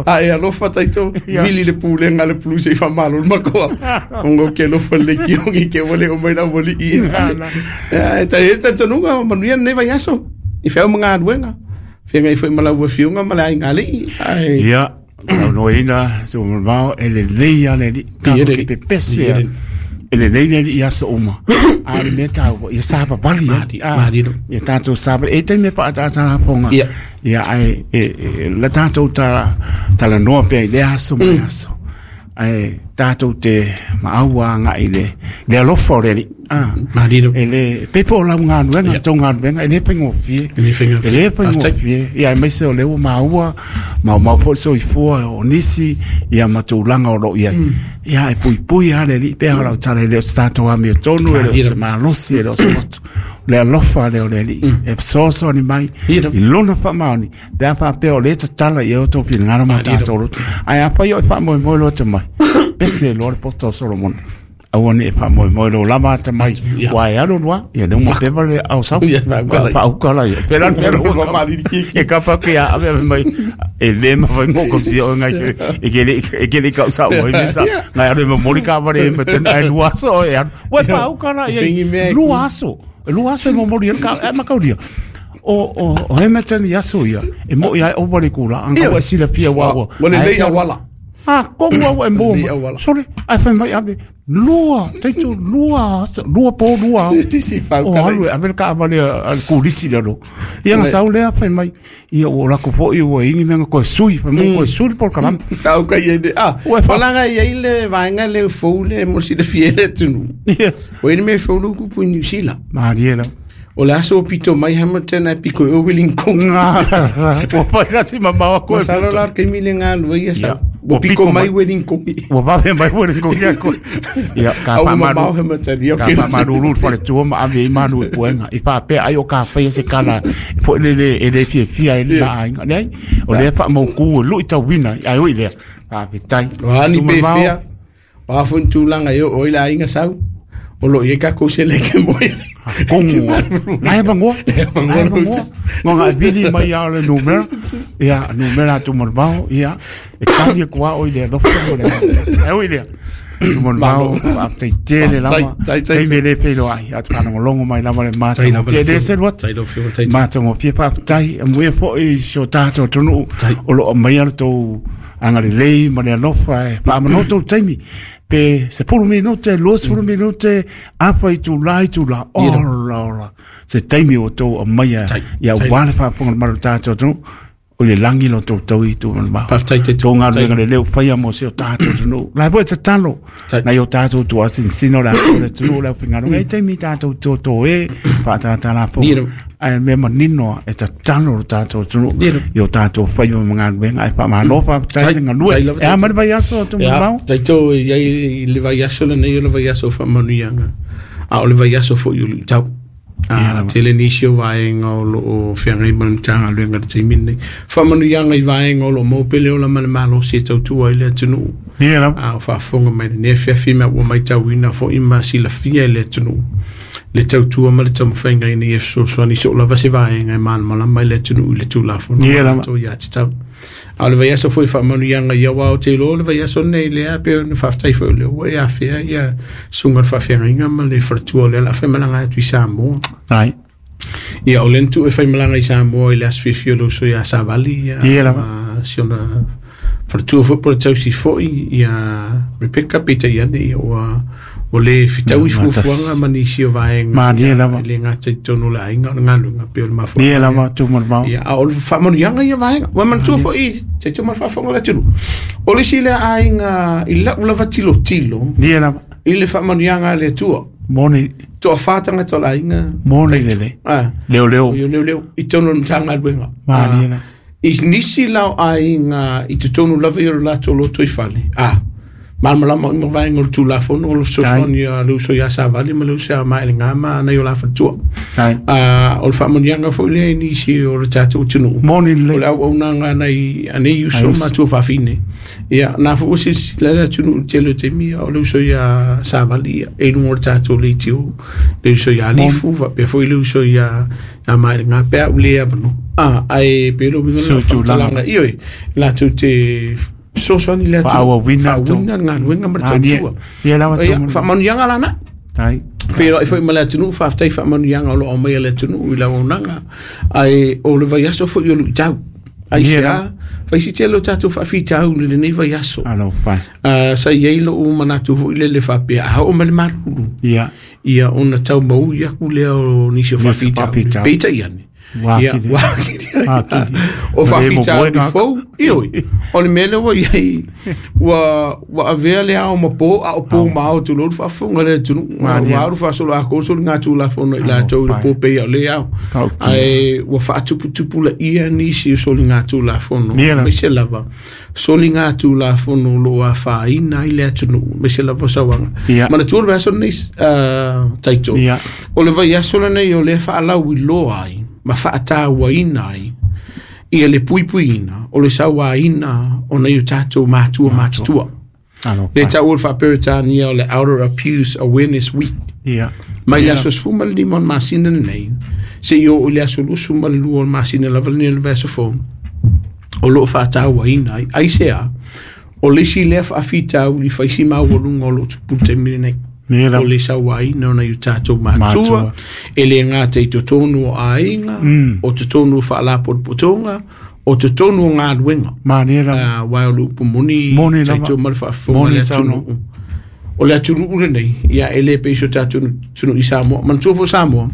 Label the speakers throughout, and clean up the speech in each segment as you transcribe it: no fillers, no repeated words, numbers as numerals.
Speaker 1: A e alofa taito, vili le pulega a le pulusi i faamalo le makoa. Ona ou te alofa lelei tiogi ke ua le oo mai le aualii. E talitonuga ua manuia lenei vaiaso i feau ma galuega. Feagai foi ma lau afioga ma le aiga alii. Ae
Speaker 2: Ia, saunoaina se mamao e lelei lava le alii.
Speaker 1: Pie le
Speaker 2: Tatou te
Speaker 1: alii.
Speaker 2: pepese
Speaker 1: Pie le
Speaker 2: lava.
Speaker 1: alii.
Speaker 2: E lelei le alii i aso uma. A o le mea taua, ia savavali ai.
Speaker 1: Mali- mali lo.
Speaker 2: Ia tatou savavali. E i ai taimi e faaataata lafoga.
Speaker 1: Ia.
Speaker 2: Ia, ae e, la tatou talanoa pea i lea aso ma lea aso. Ae tatou te maau agai i le alofa o le Alii. Ah.
Speaker 1: Mali lo.
Speaker 2: E le, pe po o lau galuega, tou galuega, e le faigofie.
Speaker 1: E le faigofie.
Speaker 2: E le faigofie. Ia, aemaise o lea ua maua, maumau foi le soifua o nisi, ia ma tulaga o lo o i ai. Ia, e puipui lava le Alii, pei o lau tala, e le o se tatou amiotonu, e le o se malosi, e le o se loto. O le alofa lea o le Alii, e fesoasoani mai i lona faamaoni, pe a faapea o lea e tatala i ai o outou finagalo ma o tatou loto. Ae afai o e faamoemoe loa te mai, pese loa le poto o Solomona. Aua ne i faamoemoe lou lava atamai, ua e alu alu lava, ia lea ua pepa le ao sau.
Speaker 1: Ia, faaukala ia.
Speaker 2: Faaukala ia. Pela le pela ua
Speaker 1: Malili kiki.
Speaker 2: E kapa ke a ave ave mai e le mawhai ngō kausi o ngai e ke le e ke le kau sa o me sa ngai alu e momori ka ware e ten ai lua aso e alu ua faaukala ia
Speaker 1: Fingi mea e
Speaker 2: lua aso lua aso e momori e ka e makauria o o o he mea tani aso ia e mo ia o wale kula anga ua silafia wa ua
Speaker 1: Ua lelei auala.
Speaker 2: Ah, komu au e mo.
Speaker 1: Lelei auala.
Speaker 2: Sorry, ai fai mai ave lua, taito lua, lua po lua.
Speaker 1: Si
Speaker 2: O
Speaker 1: faaukala
Speaker 2: alu e ave le kaavale a le kulisi le alo. Ia na sau lea fai mai. Ia ua lako foi ua ingi mea koe sui, fai mai koe sui le polokalame.
Speaker 1: Faaukala ia le ah
Speaker 2: Ua e
Speaker 1: o laga i ai le vaega le fou le mo silafia i le atunuu.
Speaker 2: Ia.
Speaker 1: O ai le mea fou le upu i Niu Sila.
Speaker 2: Malie la.
Speaker 1: O le aso o pito mai Hamilton ae piko i o Wellington.
Speaker 2: Ua fai la si mamao koe.
Speaker 1: Masalo la o le taimi le galue ia sau.
Speaker 2: Ia.
Speaker 1: Ua
Speaker 2: Ua
Speaker 1: piko
Speaker 2: piko
Speaker 1: mai
Speaker 2: mai.
Speaker 1: Wellington.
Speaker 2: Ua vave mai ua le koe koe. Ia, ka
Speaker 1: Au ua
Speaker 2: whaamaru.
Speaker 1: mamao Hamilton. Ia,
Speaker 2: Ka
Speaker 1: okay.
Speaker 2: whaamaruru le whaletua ma ave i manu e puenga. I whaapea ai o ka whaia se kala. Po le le e le fia fia e le la ainga. Nei, o le whaamauku e lui tau wina. Ai oi lea. Whaapea
Speaker 1: O a ni pe fea. O a foi ni tulaga e oo ai le aiga sau. O loo i ai takou seleke moe.
Speaker 2: Kongu. Nai vangoa.
Speaker 1: vangoa
Speaker 2: Nai
Speaker 1: lo
Speaker 2: vangoa. Ngonga e vili mai a le numera. Ia, numera tu marvao. Ia, e kari e kua oi lea. Lofa mo lea. E oi lea. Tu marvao. Whaapea tele lava.
Speaker 1: Tai, tai, tai.
Speaker 2: Taimi e le pelo ai. Atu whanongolongo mai lava le mata.
Speaker 1: Tai lava le
Speaker 2: E le
Speaker 1: whio.
Speaker 2: se luat.
Speaker 1: Tai lau whio, tai.
Speaker 2: Matagofie faafetai amuia foʻi si o tatou atunuu
Speaker 1: Tai.
Speaker 2: o loo aumaia le tou agalelei ma le alofa e faamanoa tou taimi pe 10 minute 20 minute afa itulā itulā ola ola se taimi ua tou aumaia
Speaker 1: Tai.
Speaker 2: ia
Speaker 1: Tai.
Speaker 2: uā le faafofoga le malu o tatou atunuu o le lagi lo tou taui tu ma
Speaker 1: Faafetai te
Speaker 2: tou galuega lelei ua faia mo si o tatou atunuu la e foi tatalo
Speaker 1: Tai.
Speaker 2: nai o tatou tuasinsina o le aso o le atunuu le aufaigaluega e taimi tatou toto e faatatalafoga
Speaker 1: Ia.
Speaker 2: ae mea manino e tatalo lo tatou atunuu
Speaker 1: Ia.
Speaker 2: i o tatou faiva ma galuega ae faamalo faafetai
Speaker 1: Tai.
Speaker 2: le galue
Speaker 1: Tai lava,
Speaker 2: e a
Speaker 1: tai.
Speaker 2: ma le vaiaso atu
Speaker 1: Ia,
Speaker 2: mamao
Speaker 1: taito i ai i le vaiaso lenei o le vaiaso o faamanuiaga. A o le vaiaso foi o luitau. A tele nisi o vaega o loo feagai ma le Matagaluega i le taimi lenei. Faamanuiaga i vaega o loo maua pea le ola ma le malosi e tautua ai le atunuu.
Speaker 2: ia lava
Speaker 1: A o faafofoga mai lenei afiafi ma ua matauina foi ma silafia e le atunuu le tautua ma le taumafaiga ina ia fesoasoani so o lava se vaega e malamalama i le atunuu i le tulafono
Speaker 2: Ia
Speaker 1: ma
Speaker 2: lava.
Speaker 1: latou ia tatau. A o le vaiaso foi faamanuiaga ia aua ou te iloa o le vaiaso lenei lea pei ona faafetai foi o lea ua e afea ia susuga i le faafeagaiga ma le faletua o lea o le a faimalaga atu i Samoa.
Speaker 2: ai
Speaker 1: Ia o lea na tuu e faimalaga i Samoa i le aso fiafia o le uso ia Savali ia,
Speaker 2: Ia lava.
Speaker 1: ma si ona faletua foi po o le tausi foi ia Rebecca peitai ane ia ua o le fitaui
Speaker 2: Ia, matas.
Speaker 1: fuafuaga ma nisi o vaega
Speaker 2: Malie
Speaker 1: ia,
Speaker 2: lava.
Speaker 1: e le gata i totonu o le aiga o le galuega pei o le mafuaaga
Speaker 2: ia
Speaker 1: lea.
Speaker 2: lava tu mamao
Speaker 1: Ia, a o le faamanuiaga ia vaega. Ua manatua foi, taito ma le faafofoga o le atunuu. O le isi lea aiga i lau lava tilotilo
Speaker 2: ia lava
Speaker 1: i le faamanuiaga a le Atua.
Speaker 2: moni
Speaker 1: Toafa tagata o le aiga.
Speaker 2: moni lelei
Speaker 1: Ah,
Speaker 2: leo leo
Speaker 1: o leo leo i totonu o le Matagaluega.
Speaker 2: Malie
Speaker 1: Ah,
Speaker 2: lava.
Speaker 1: I nisi la o aiga i totonu lava i o le latou lotoifale. Ah, Malamalama uma vaega o le Tulafono o le fesoasoani a le uso ia Savali ma le uso ia Maelegā ma nai o la faletua. O le faamanuiaga foi lea i nisi o le tatou atunuu.
Speaker 2: Moni lelei.
Speaker 1: O le auaunaga a nai a nei uso ma tuafafine. Ia, na foi ua silasila le atunuu i le tele o taimi, o le uso ia Savali ia, e i luga o le tatou leitio, le uso ia Alifu, faapea foi le uso ia Maelegā pe a ou le avanoa. Ae pei o le uiga lena o le faamatalaga, ioe, latou te fesoasoani le atunuu,
Speaker 2: Faaauauina
Speaker 1: le galuega ma le tautua.
Speaker 2: Ia lava
Speaker 1: Ia, faamanuiaga lana. Feiloai foi ma le atunuu, faafetai faamanuiaga o lo o aumaia le atunuu i le auaunaga. Ae o le vaiaso foi o luitau. Aisea, faisi tele o tatou faafitauli i lenei vaiaso. Sa i ai lou manatu foi lele faapea, a oo mai le malulu, ia ona tau maui aku lea o nisi o faafitauli. Peitai ane, ia, ua atili ai. O faafitauli fou, ioe, o le mea lea ua i ai, ua avea le ao ma po, a o po ma ao tulou le faafofoga a le atunuu. Ua alu faasoloatoa soligatulafono i latou i le po pei o le ao. Ae ua faatuputupulaia nisi o soligatulafono, aemaise lava soligatulafono o lo o afaina ai le atunuu, aemaise lava o sauaga. Manatua le vaiaso lenei, Taito, o le vaiaso lenei o lea faalauiloa ai ma faatauaina ai ia le puipuiina o le sauaina o nai o tatou matua matutua. Le taua o le faa-Peretania o le Elder Abuse Awareness Week. Mai le aso 15 o le masina lenei, seia oo i le aso 22 o le masina lava lenei o le vaiaso fou, o lo o faatauaina ai. Aisea, o le isi lea faafitauli faisi maualuga o lo o tupu i le taimi lenei. O le sauaina o nai o tatou matua, e le gata i totonu o aiga, o totonu o faalapotopotoga, o totonu o galuega. Aua o le upu moni, tatou ma le faafofoga le atunuu. O le atunuu lenei, ia e le pei so tatou atunuu i Samoa. Manatua foi Samoa,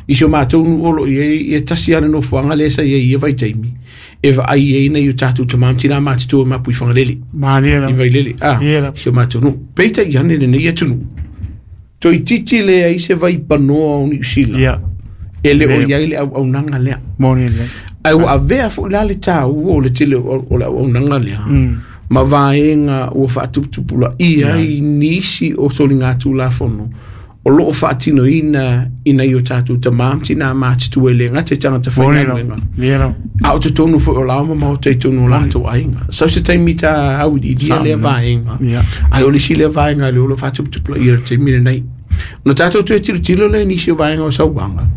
Speaker 1: i si o matou nuu o lo o i ai, ia tasi lava le nofoaga lea sa i ai i ia vaitaimi, e vaai ai nai o tatou tama ma tina matutua i Mapuifagalele, i Vailele, si o matou nuu. Peitai ane lenei atunuu, toeitiiti leai se vaipanoa o Niu Sila, e le o i ai le auaunaga lea. Ae ua avea foi la le taua o le tele o le auaunaga lea, ma vaega ua faatuputupulaia ai nisi o soligatulafono o lo o faatinoina i nai o tatou tama ma tina matutua e le gata i tagata faigaluega, a o totonu foi o lao ma maota i totonu o latou aiga. Sau se taimi ta auiliilia lea vaega, ae o le isi lea vaega lea o lo o faatuputupulaia i le taimi lenei. Ona tatou toe tilotilo lea i nisi o vaega o sauaga,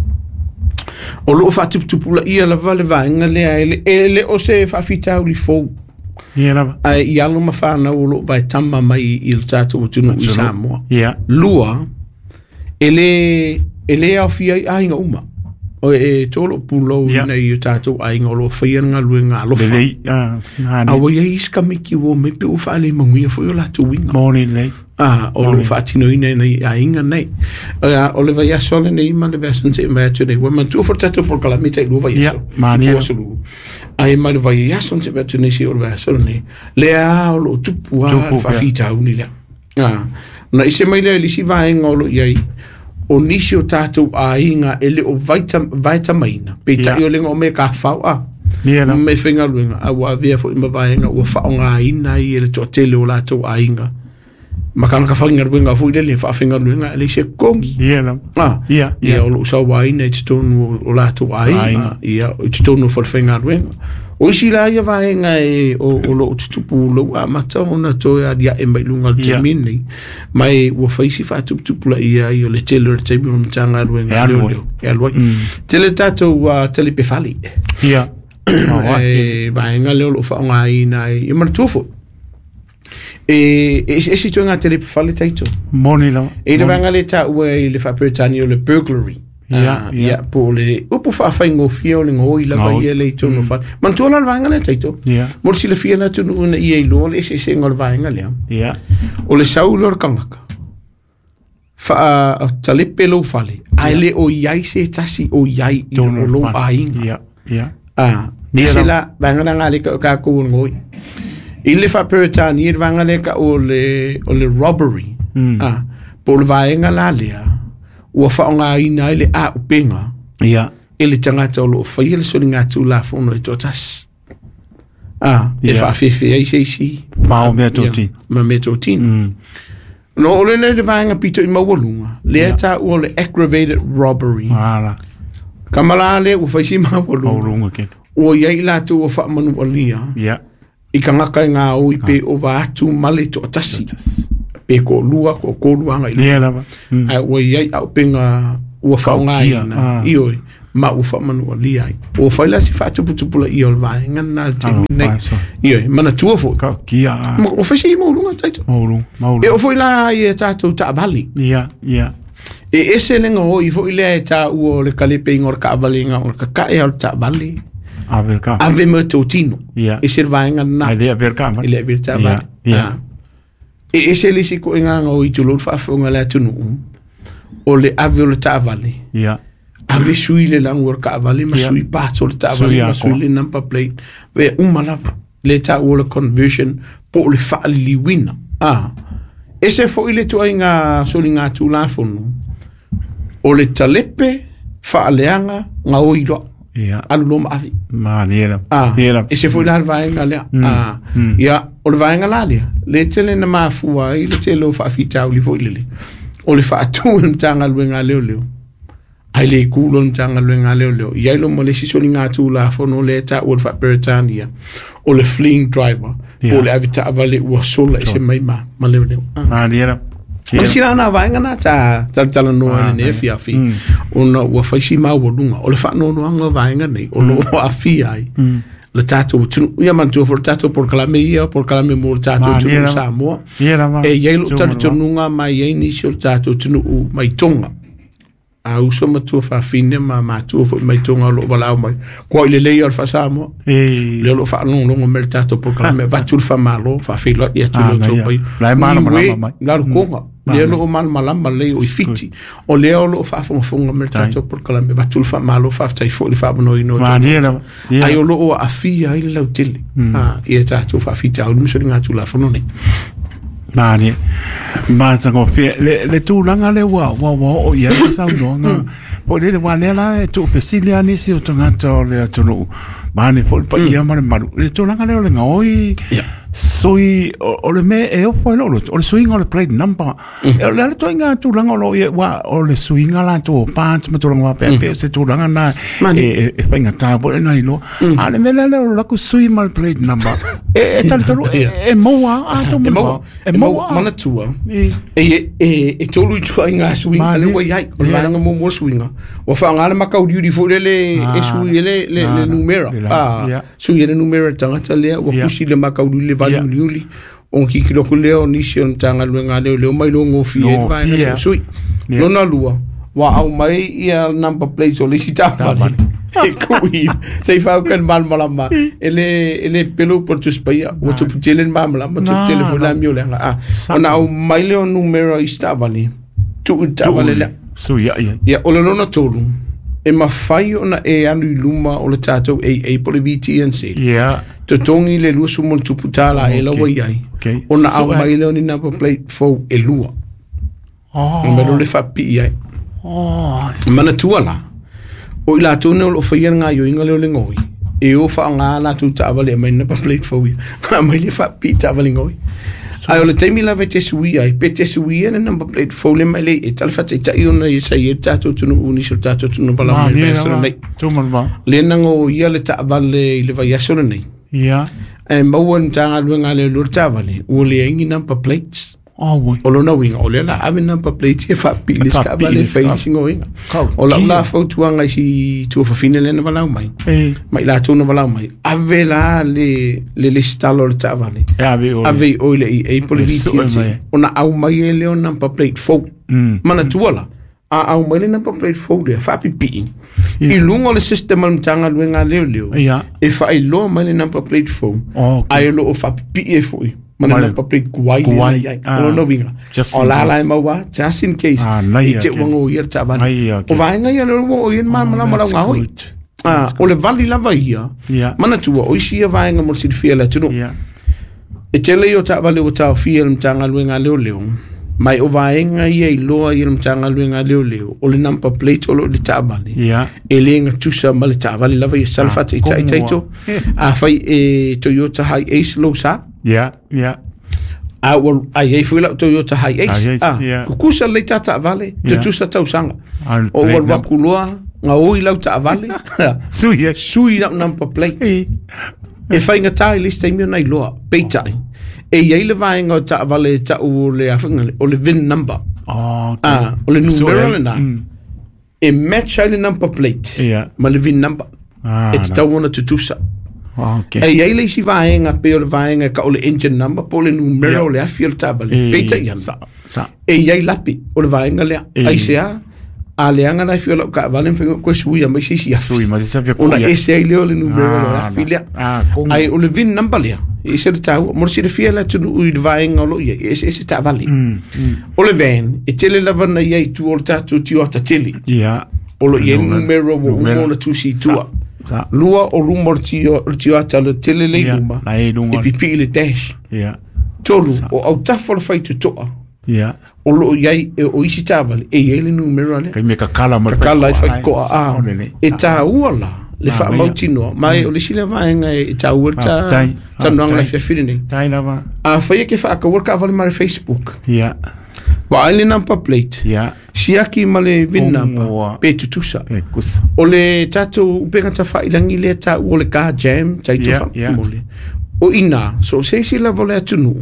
Speaker 1: o lo o faatuputupulaia lava le vaega lea, e le o se faafitauli fou. Ae i alo ma fanau o lo o vaetama mai i le tatou atunuu i Samoa. Lua, e le aofia ai aiga uma. O e tolo pulou i nai o tatou aiga o lo o faia le galuega alofa. A ua i ai isi kamiki ua omai pe ua faalemaguia foi o latou uiga. O lo o faatinoina i nai aiga nei. O le vaiaso lenei ma le vaiaso na se'i mai atu nei, ua manatua foi le tatou polokalame tai lua vaiaso. I po aso lua. Ae mai le vaiaso na se'i mai atu nei seia oo i le vaiaso lenei, lea o lo o tupu lava le faafitauli lea. Ona ese mai lea i le isi vaega o lo o i ai, o nisi o tatou aiga e le o vaetamaina, peitai o le o mea kafau a, me faigaluega, a ua avea foi ma vaega ua faaaogaina ai e le toatele o latou aiga. Ma tagata faigaluega foi lele, faafaigaluega e leai se totogi. Ia, o lo o sauaina i totonu o latou aiga, ia, i totonu o falefaigaluega. O isi la ia vaega o lo o tutupu lou amata ona toe aliae mai luga o le taimi lenei, ma e ua fai si faatuputupulaia ai o le tele o le taimi o le Matagaluega leoleo e alu ai. Tele tatou talipe fale. E vaega lea o lo o faaaogaina ai. Ia manatua foi, e eseese ituaiga talipe fale taito.
Speaker 2: Moni lava.
Speaker 1: E le vaega lea e taua i le faa-Peretania o le burglary. Ia, po o le upu faafaigofie o le gaoi lava ia le i totonu o fale. Manatua la le vaega lea taito. Mo le silafia le atunuu ina ia iloa le eseesega o le vaega lea. O le sau lea o le tagata, faatalepe lou fale, ae le o i ai se tasi o i ai i o lou aiga. Ese la, vaega la ngā leka o kākou o le gaoi. I le faa-Peretania, le vaega lea ka o le robbery. Po o le vaega la lea, ua faaaogaina ai le auupega e le tagata o lo o faia le soligatulafono e toatasi. E faafefe ai se isi
Speaker 2: Ma o mea totino.
Speaker 1: Ma mea totino. No o le le vaega pito i maualuga, lea taua o le aggravated robbery.
Speaker 2: Ala.
Speaker 1: Kamala le ua faisi maualuga.
Speaker 2: Maualuga kele.
Speaker 1: Ua iai latou ua faamanualia.
Speaker 2: Ia.
Speaker 1: I kagaka e gaoi pe ova atu ma le toatasi. Pe toalua, toatolu agai.
Speaker 2: Ia lava.
Speaker 1: Ae ua iai auupega ua faaaogaina. Ioe, ma ua faamanualia ai. Ua fai la si faatuputupulaia o le vaega lena i le taimi lenei. Ioe, manatua foi.
Speaker 2: Tautia.
Speaker 1: Ua fai si maualuga taito.
Speaker 2: Maualuga.
Speaker 1: E oo foi la i a tatou taavale.
Speaker 2: Ia, ia.
Speaker 1: E ese le gaoi foi lea e taua o le kalepeiga o le taavale o le kakae o le taavale.
Speaker 2: Ave le taavale.
Speaker 1: Ave ma totino.
Speaker 2: Ia.
Speaker 1: Ese le vaega lena.
Speaker 2: Ai le ave le taavale.
Speaker 1: E le ave le taavale.
Speaker 2: Ia.
Speaker 1: E ese le isi koʻiga gaoi tulou le faafofoga a le atunuu o le ave o le taavale.
Speaker 2: Ia.
Speaker 1: Ave sui le lagu o le taavale ma sui parts o le taavale ma sui le number plate. Vea uma lava. Le taua o le conversion po o le faaliliuina. Ese foi le tuaiga soliga tulafono o le talepe faaleaga gaoi loa.
Speaker 2: Ia.
Speaker 1: Alu loa ma ave.
Speaker 2: Malie lava.
Speaker 1: Ese foi la le vaega lea. Ia, o le vaega la lea, le tele na mafua ai le tele o faafitauli foi lele. O le faatu e le Matagaluega a Leoleo. Ai le kulo le Matagaluega a Leoleo. Iai lo ma le isi soliga tulafono lea e taua le faa-Peretania o le fleeing driver. Po o le ave taavale ua sola ese mai ma leoleo.
Speaker 2: Malie lava.
Speaker 1: O le sila na vaega na ta talatalanoa i lenei afiafi ona ua fai si maualuga o le faanoanoaga o vaega nei o loo aafia ai le tatou atunuu. Ia manatua foi le tatou polokalame ia, polokalame mo le tatou atunuu Samoa. E iai lou talitonuga ma e iai nisi o le tatou atunuu mai Toga. A uso ma tua fafine ma matua foi mai Toga o loo valaau mai. Kua i lelei o le faasamoa. Lea o loo faalogologo mai le tatou polokalame avatu le faamalo faafeiloai atu i lo outou paia. La lukoga. Lea o loo malamalama lelei o i Fiti. O lea o loo faafogafoga mai le tatou polokalame avatu le faamalo faafetai foi le faamanoina o outou. Ai o loo aafia ai le lautele. Ia tatou faafitauli ma soliga tulafono nei.
Speaker 2: Malie. Matagofie. Le tulaga lea ua oo i ai le saunoaga. Po o le wā lea la e tuufesili a nisi o tagata o le atunuu. Mane foi le paia ma le malu. Le tulaga lea o le gaoi. Sui o le mea e ofo ai lou loto. O le suiga o le plate number. E o le ale toaiga tulaga o loo ia ua o le suiga latou o parts ma tulaga faapea pe o se tulaga na e faigata foi ona iloa. A le mea lea o laku sui ma le plate number. E talitonu e maua a tou
Speaker 1: maua. E maua manatua. E tolu i tuaiga suiga le ua iai. O le vaega muamua o le suiga. Ua faaaoga le makauliuli foi lele e sui e le numera. Sui e le numera tagata lea ua kusi le makauliuli le valiuliuli. O kikilo aku lea o nisi o le Matagaluega a Leoleo mai loa gofie ai le vaega lea o sui. Lona lua, ua au mai ia number plates o le isi taavale. E kui, se i whauka le malamalama. E le pelo po le Tusi Paia. Ua tupu tele le malamalama, tupu tele foi le amio leaga. Ona au mai lea o numera i isi taavale, tuu i le taavale lea.
Speaker 2: Sui ai.
Speaker 1: Ia, o le lona tolu, e mafai ona e alu i luma o le tatou AA po le VTNC.
Speaker 2: Ia.
Speaker 1: Totogi le $20 e laua iai. Ona au mai lea o ni number plate fou e lua. O mea le faapipii ai. Manatua la, o i latou nei o loo faia le gaoioiga lea o le gaoi, e o faaaoga latou taavale e aumai number plate fou ia. Aumai le faapipii taavale gaoi. Ae o le taimi lava e te suia ai, pe te suia le number plate fou le mai le e tala faataitai ona ia sa i ai le tatou atunuu nisi o le tatou atunuu valaau mai le vaiaso lenei. Lea na gaoia le taavale i le vaiaso lenei.
Speaker 2: Ia.
Speaker 1: E maua le Matagaluega a Leoleo le taavale, ua leai ni number plates. O lona uiga, o lea la ave number plates e faapipii le isi taavale e fai le isi gaoiga. O lau la fautuaga i si tuafafine lea na valaau mai, ma i latou na valaau mai, ave la le lesitala o le taavale, ave i o i le AA po le VTNC, ona au mai e lea o number plate fou. Manatua la, a au mai le number plate fou lea, faapipii, i luga o le system a le Matagaluega a Leoleo, e faailoa mai le number plate fou, ae o loo faapipii ai foi ma le number plate tuai lea iai. O lona uiga, o la la e maua, just in case, i te ua gaoia le taavale. O vaega ia lea ua oo i ai le malamalama o lau gaoi. O le vali lava ia, manatua, o isi ia vaega mo le silafia e le atunuu. E tele ia o taavale ua taofia e le Matagaluega a Leoleo, mai o vaega ia iloa i le Matagaluega a Leoleo, o le number plate o loo i le taavale, e le gatusa ma le taavale lava ia sala faataitai taito. Afai e Toyota Hi-Ace lou sa,
Speaker 2: Ia, ia.
Speaker 1: A ua ai ai foi lau Toyota Hiace.
Speaker 2: Hiace, ia.
Speaker 1: Tutusa lelei ta taavale, tutusa tausaga.
Speaker 2: Ah, le
Speaker 1: O ua
Speaker 2: plate
Speaker 1: alu atu loa, gaoi lau taavale,
Speaker 2: Sui e.
Speaker 1: sui lau number plate.
Speaker 2: I.
Speaker 1: E faigata i le isi taimi ona iloa, peitai. E i ai le vaega o taavale e tau o le afaga o le VIN number.
Speaker 2: Oh, okay.
Speaker 1: Ah, o le numera
Speaker 2: ai.
Speaker 1: lena. E match ai le number plate
Speaker 2: Ia.
Speaker 1: ma le VIN number.
Speaker 2: Ah,
Speaker 1: E tatau ona tutusa.
Speaker 2: Okay.
Speaker 1: E i ai le isi vaega pei o le vaega e tau o le engine number po o le numera
Speaker 2: Ia.
Speaker 1: o le afi o le taavale.
Speaker 2: E,
Speaker 1: Peitai ana.
Speaker 2: Sa.
Speaker 1: E i ai lapi o le vaega lea.
Speaker 2: E.
Speaker 1: Ai se a, a leaga la afi o lau taavale, mafai ona toe suia mai se isi afi.
Speaker 2: Sui ma se safi
Speaker 1: Ona ese ai lea o le numera o le
Speaker 2: Ah,
Speaker 1: afi lea.
Speaker 2: Ah, kongo.
Speaker 1: Ai o le VIN number lea, e ese le taua. Mo le silafia le atunuu i le vaega o lo o i ai, e eseese taavale. O le van, e tele lava na i ai i tua o le tatou tioata tele.
Speaker 2: Ia.
Speaker 1: O lo o i ai le numera ua uma
Speaker 2: Numera.
Speaker 1: ona tusi i tua.
Speaker 2: Sa.
Speaker 1: Lua o luma o le tioata le tele le i
Speaker 2: Ia,
Speaker 1: luma,
Speaker 2: la e luga.
Speaker 1: e pipii le dash.
Speaker 2: Ia.
Speaker 1: Tolu, o autafa o le faitotoa,
Speaker 2: Ia.
Speaker 1: o lo o i ai, e o isi taavale, e i ai le numera lea.
Speaker 2: Kai me kakala ma le
Speaker 1: Kakala ai
Speaker 2: faitotoa.
Speaker 1: faitotoa, ah.
Speaker 2: Sa, o le le.
Speaker 1: E taua la, le
Speaker 2: Ah,
Speaker 1: faamautinoa, ma e o le isi lea vaega e taua le
Speaker 2: Faafetai,
Speaker 1: talanoaga le
Speaker 2: faafetai.
Speaker 1: afiafi lenei.
Speaker 2: Tai lava.
Speaker 1: Afai e ke faataua le taavale ma le Facebook,
Speaker 2: Ia.
Speaker 1: vaai le number plate,
Speaker 2: Ia.
Speaker 1: siaki ma le VIN
Speaker 2: Kongoa.
Speaker 1: number, pe tutusa.
Speaker 2: Pe kusa.
Speaker 1: O le tatou upega tafailagi lea taua o le car jam, taito
Speaker 2: Ia, ia.
Speaker 1: faamole. O ina, so se isi lava o le atunuu,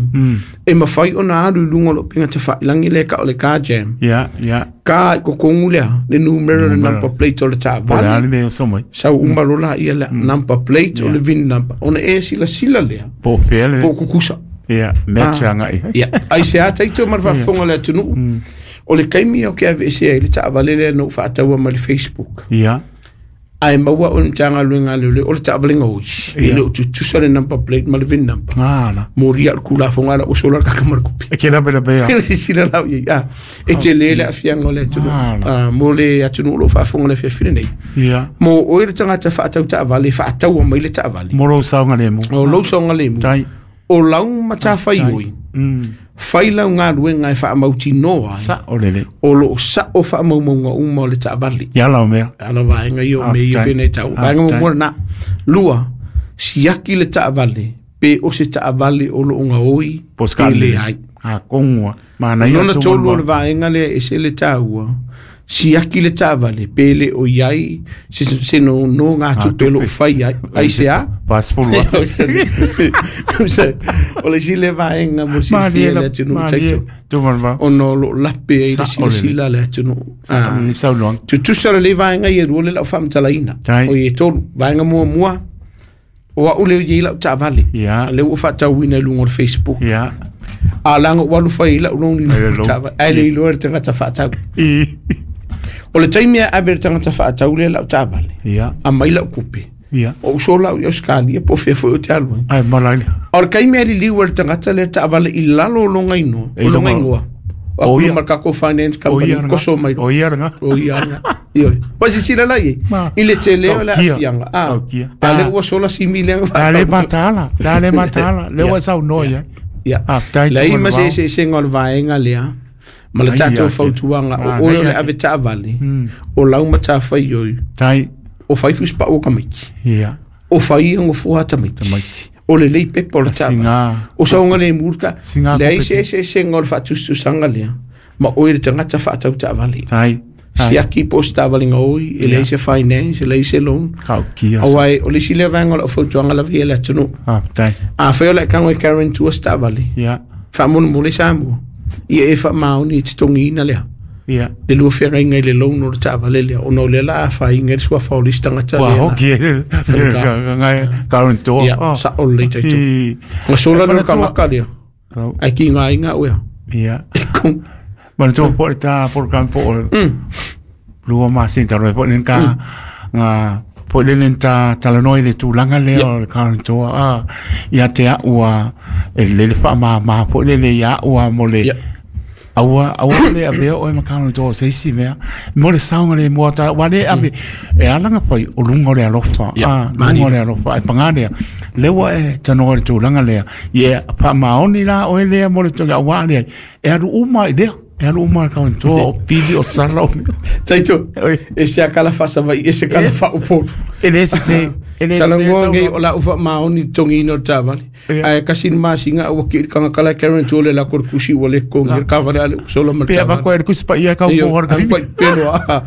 Speaker 1: e mafai ona alu i luga o le upega tafailagi lea tau o le car jam.
Speaker 2: Ia, ia.
Speaker 1: Ka i kokogu lea, le numera le
Speaker 2: Numera.
Speaker 1: number plate o le
Speaker 2: Po le
Speaker 1: taavale.
Speaker 2: ale le so mai.
Speaker 1: Sau uma loa laia lea, number plate o le VIN number. Ona e silasila lea,
Speaker 2: Po fe le.
Speaker 1: po o kukusa.
Speaker 2: Ia, match anga i.
Speaker 1: Ia, ai se a taito ma le faafofoga le atunuu. O le taimi o ke aveesea ai le taavale lea na ou faataua ma le Facebook.
Speaker 2: Ia.
Speaker 1: Ae maua o le Matagaluega a Leoleo o le taavale gaoi. E
Speaker 2: Ia.
Speaker 1: le o tutusa le number plate ma le VIN number.
Speaker 2: Ah, la.
Speaker 1: Molia le kulafoga la ua sola le kaka ma le kupi.
Speaker 2: E ke la bela bea.
Speaker 1: Le silasila lau i ai. Ah, e tele le aafiaga o le atunuu.
Speaker 2: Ah,
Speaker 1: Ah, mo le atunuu o loo faafofoga le afiafi lenei.
Speaker 2: Ia.
Speaker 1: Mo oe le tagata faatau taavale, faataua mai le taavale.
Speaker 2: Mo lou saoga le mu.
Speaker 1: O lou saogalemu.
Speaker 2: Tai.
Speaker 1: O lau matafaioi, fai lau galuega e faamautinoa ai
Speaker 2: Sa o le le.
Speaker 1: o loo sao faamaumauga uma o le taavale.
Speaker 2: Ia lau mea.
Speaker 1: Ala vaega ia o mea ia
Speaker 2: Faafetai.
Speaker 1: pei ona e taua. Vaega
Speaker 2: Faafetai.
Speaker 1: muamua lena. Lua, siaki le taavale pe o se taavale o loo gaoi
Speaker 2: Po
Speaker 1: pe
Speaker 2: skale.
Speaker 1: leai.
Speaker 2: Ah, kongua. Mana ia
Speaker 1: Lona
Speaker 2: tu
Speaker 1: tolu o
Speaker 2: ma.
Speaker 1: le vaega lea e ese le taua, siaki le taavale pe le o i ai se nonogatupe o loo fai ai. Ai se a?
Speaker 2: Passport.
Speaker 1: O se- o le isi lea vaega mo le silafia e le atunuu taito
Speaker 2: Tu ma.
Speaker 1: ona o loo lape ai le
Speaker 2: Sa- o le-
Speaker 1: silasila a le atunuu. Ah.
Speaker 2: Ni saunoaga.
Speaker 1: Tutusa lelei vaega ia e lua le lau faamatalaina.
Speaker 2: Tai.
Speaker 1: O i e tolu. Vaega muamua, o au lea e i ai lau taavale.
Speaker 2: Ia.
Speaker 1: Lea ua faatauina i luga o le Facebook.
Speaker 2: Ia.
Speaker 1: A laga ua alu fai ai lau loan i
Speaker 2: Ai le
Speaker 1: luga o le
Speaker 2: loan.
Speaker 1: taavale. Ae le iloa e le tagata faatau.
Speaker 2: I.
Speaker 1: O le taimi e ave le tagata faatau lea lau taavale.
Speaker 2: Ia.
Speaker 1: Aumai lau kupe.
Speaker 2: Ia.
Speaker 1: O uso lau i Australia po o fea foi o te alu ai.
Speaker 2: Ai malai.
Speaker 1: O le taimi e liliu e le tagata lea le taavale i lalo o loga inoa,
Speaker 2: E
Speaker 1: o loga
Speaker 2: loga-
Speaker 1: igoa. O
Speaker 2: O
Speaker 1: aku
Speaker 2: ia.
Speaker 1: ma le tatou Finance
Speaker 2: O
Speaker 1: Company,
Speaker 2: ia
Speaker 1: koso mai loa.
Speaker 2: O ia nga.
Speaker 1: O ia nga. Ioe. Ua silasila la i ai,
Speaker 2: Ma.
Speaker 1: i le tele o le
Speaker 2: Taukia.
Speaker 1: aafiaga. Ah,
Speaker 2: Taukia.
Speaker 1: a lea ua sola simi lea
Speaker 2: Ta le matala. Ta le matala. Le ua saunoa ia.
Speaker 1: Ia.
Speaker 2: Ah, tai
Speaker 1: Leai
Speaker 2: tu
Speaker 1: ma se
Speaker 2: ma
Speaker 1: eseesega o le vaega lea ma le
Speaker 2: Ai,
Speaker 1: tatou
Speaker 2: ia,
Speaker 1: fautuaga
Speaker 2: Ah,
Speaker 1: o oe o
Speaker 2: ai,
Speaker 1: le
Speaker 2: ia.
Speaker 1: ave taavale o lau matafaioi
Speaker 2: Tai.
Speaker 1: o fai fusipau o tamaiti
Speaker 2: Ia.
Speaker 1: o fai e gofoa tamaiti
Speaker 2: Tamaiti.
Speaker 1: o lelei pepa o le taavale
Speaker 2: Singa.
Speaker 1: o saogalemu le ta
Speaker 2: Singa
Speaker 1: leai
Speaker 2: kope.
Speaker 1: se eseesega o le faatusatusaga lea ma oe le tagata faatau taavale
Speaker 2: Tai. Tai.
Speaker 1: siaki po o se taavale gaoi e leai se finance e leai se loan
Speaker 2: Taukia.
Speaker 1: auā o le isi lea vaega o lau fautuaga lava ia le atunuu
Speaker 2: Ah, tai.
Speaker 1: afai o le akago e guarantua se taavale
Speaker 2: Ia.
Speaker 1: faamolemole Samoa ia e faamaoni e totogiina lea
Speaker 2: Ia.
Speaker 1: le lua feagaiga i le loan o le taavale lea ona o lea la afaina ai le suafa o le isi tagata
Speaker 2: Ua
Speaker 1: lea na
Speaker 2: hoki e. Ngai karantoa.
Speaker 1: ia sao lelei taito
Speaker 2: I.
Speaker 1: gasola
Speaker 2: E
Speaker 1: le
Speaker 2: manatua-
Speaker 1: kagaka lea ae kigaina oea
Speaker 2: Ia.
Speaker 1: e kong
Speaker 2: Manatua po le ta program po o lua masina talu ai po le ka nga po le le ta talanoa i le tulaga lea o le karantoa a ia te au a e le le faamāmā po le le ia au a mo le
Speaker 1: Ia.
Speaker 2: aua aua le avea oe ma karantoa o se isi mea mo le saoga le mua ta ua le ave e ala ona fai o luga o le alofa
Speaker 1: Ia,
Speaker 2: a
Speaker 1: mani.
Speaker 2: luga o le alofa e pagā lea le ua e tanoa i le tulaga lea ia faamaoni la oe lea mo le tulaga auā lea e alu uma i lea. E alu uma le guarantor o pili o sala o
Speaker 1: Taito,
Speaker 2: Oi.
Speaker 1: e se akala faasavaii e se kala faaupolu.
Speaker 2: E le sese, e le sese
Speaker 1: Talanoa
Speaker 2: sau
Speaker 1: nei
Speaker 2: no.
Speaker 1: o la ufa maoni togina o le tavale.
Speaker 2: Ia.
Speaker 1: Ae kasi le masina ua kii le kagakala e guarantor le lako le kusi ua le kogi le kavale ale sola ma le
Speaker 2: Pe
Speaker 1: tavale.
Speaker 2: avako e le kusi paia kau
Speaker 1: Io,
Speaker 2: po hora
Speaker 1: alu pai pelo a.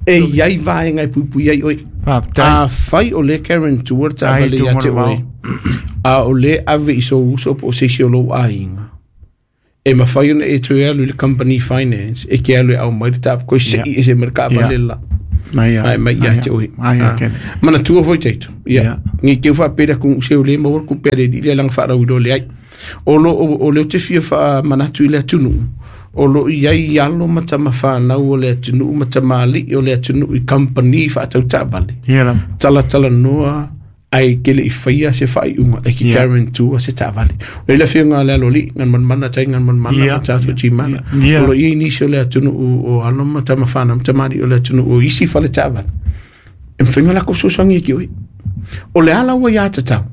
Speaker 1: E iai vaega e puipui ai oe.
Speaker 2: Faafetai.
Speaker 1: Afai o le guarantor le
Speaker 2: Ai,
Speaker 1: tavale ia te
Speaker 2: tu
Speaker 1: oe. A o le ave i sou uso po o se isi o lou aiga. E mafai ona e toe alu i le company finance e ke alu e au mai le tap koe sei e se mai le kaavale la.
Speaker 2: Mai
Speaker 1: Ai mai ia te oe.
Speaker 2: Ai
Speaker 1: Ah.
Speaker 2: ke.
Speaker 1: Manatua foi taito. Ia.
Speaker 2: Ia.
Speaker 1: Ngi teu faapea ku se o le maua ku pere i le langa whaarau i le ai. O lo o le o te fia wha manatu i le atunuu. O lo i ai alo ma tama whanau o le atunuu ma tama ali'i o le atunuu i company whaatau taavale.
Speaker 2: Ia la.
Speaker 1: Tala tala noa ai ke le i whaia se whaiunga e ki
Speaker 2: Ia.
Speaker 1: guarantor se taavale. O le whianga le alo li ngan manmana tai ngan manmana
Speaker 2: Ia.
Speaker 1: ma tātou timana.
Speaker 2: Ia.
Speaker 1: O lo i nisi o le atunuu o alo ma tama whanau ma tama ali'i o le atunuu o isi whale taavale. E mwhinga lako fesoasoani e ki oi. O le ala ua ia tatau.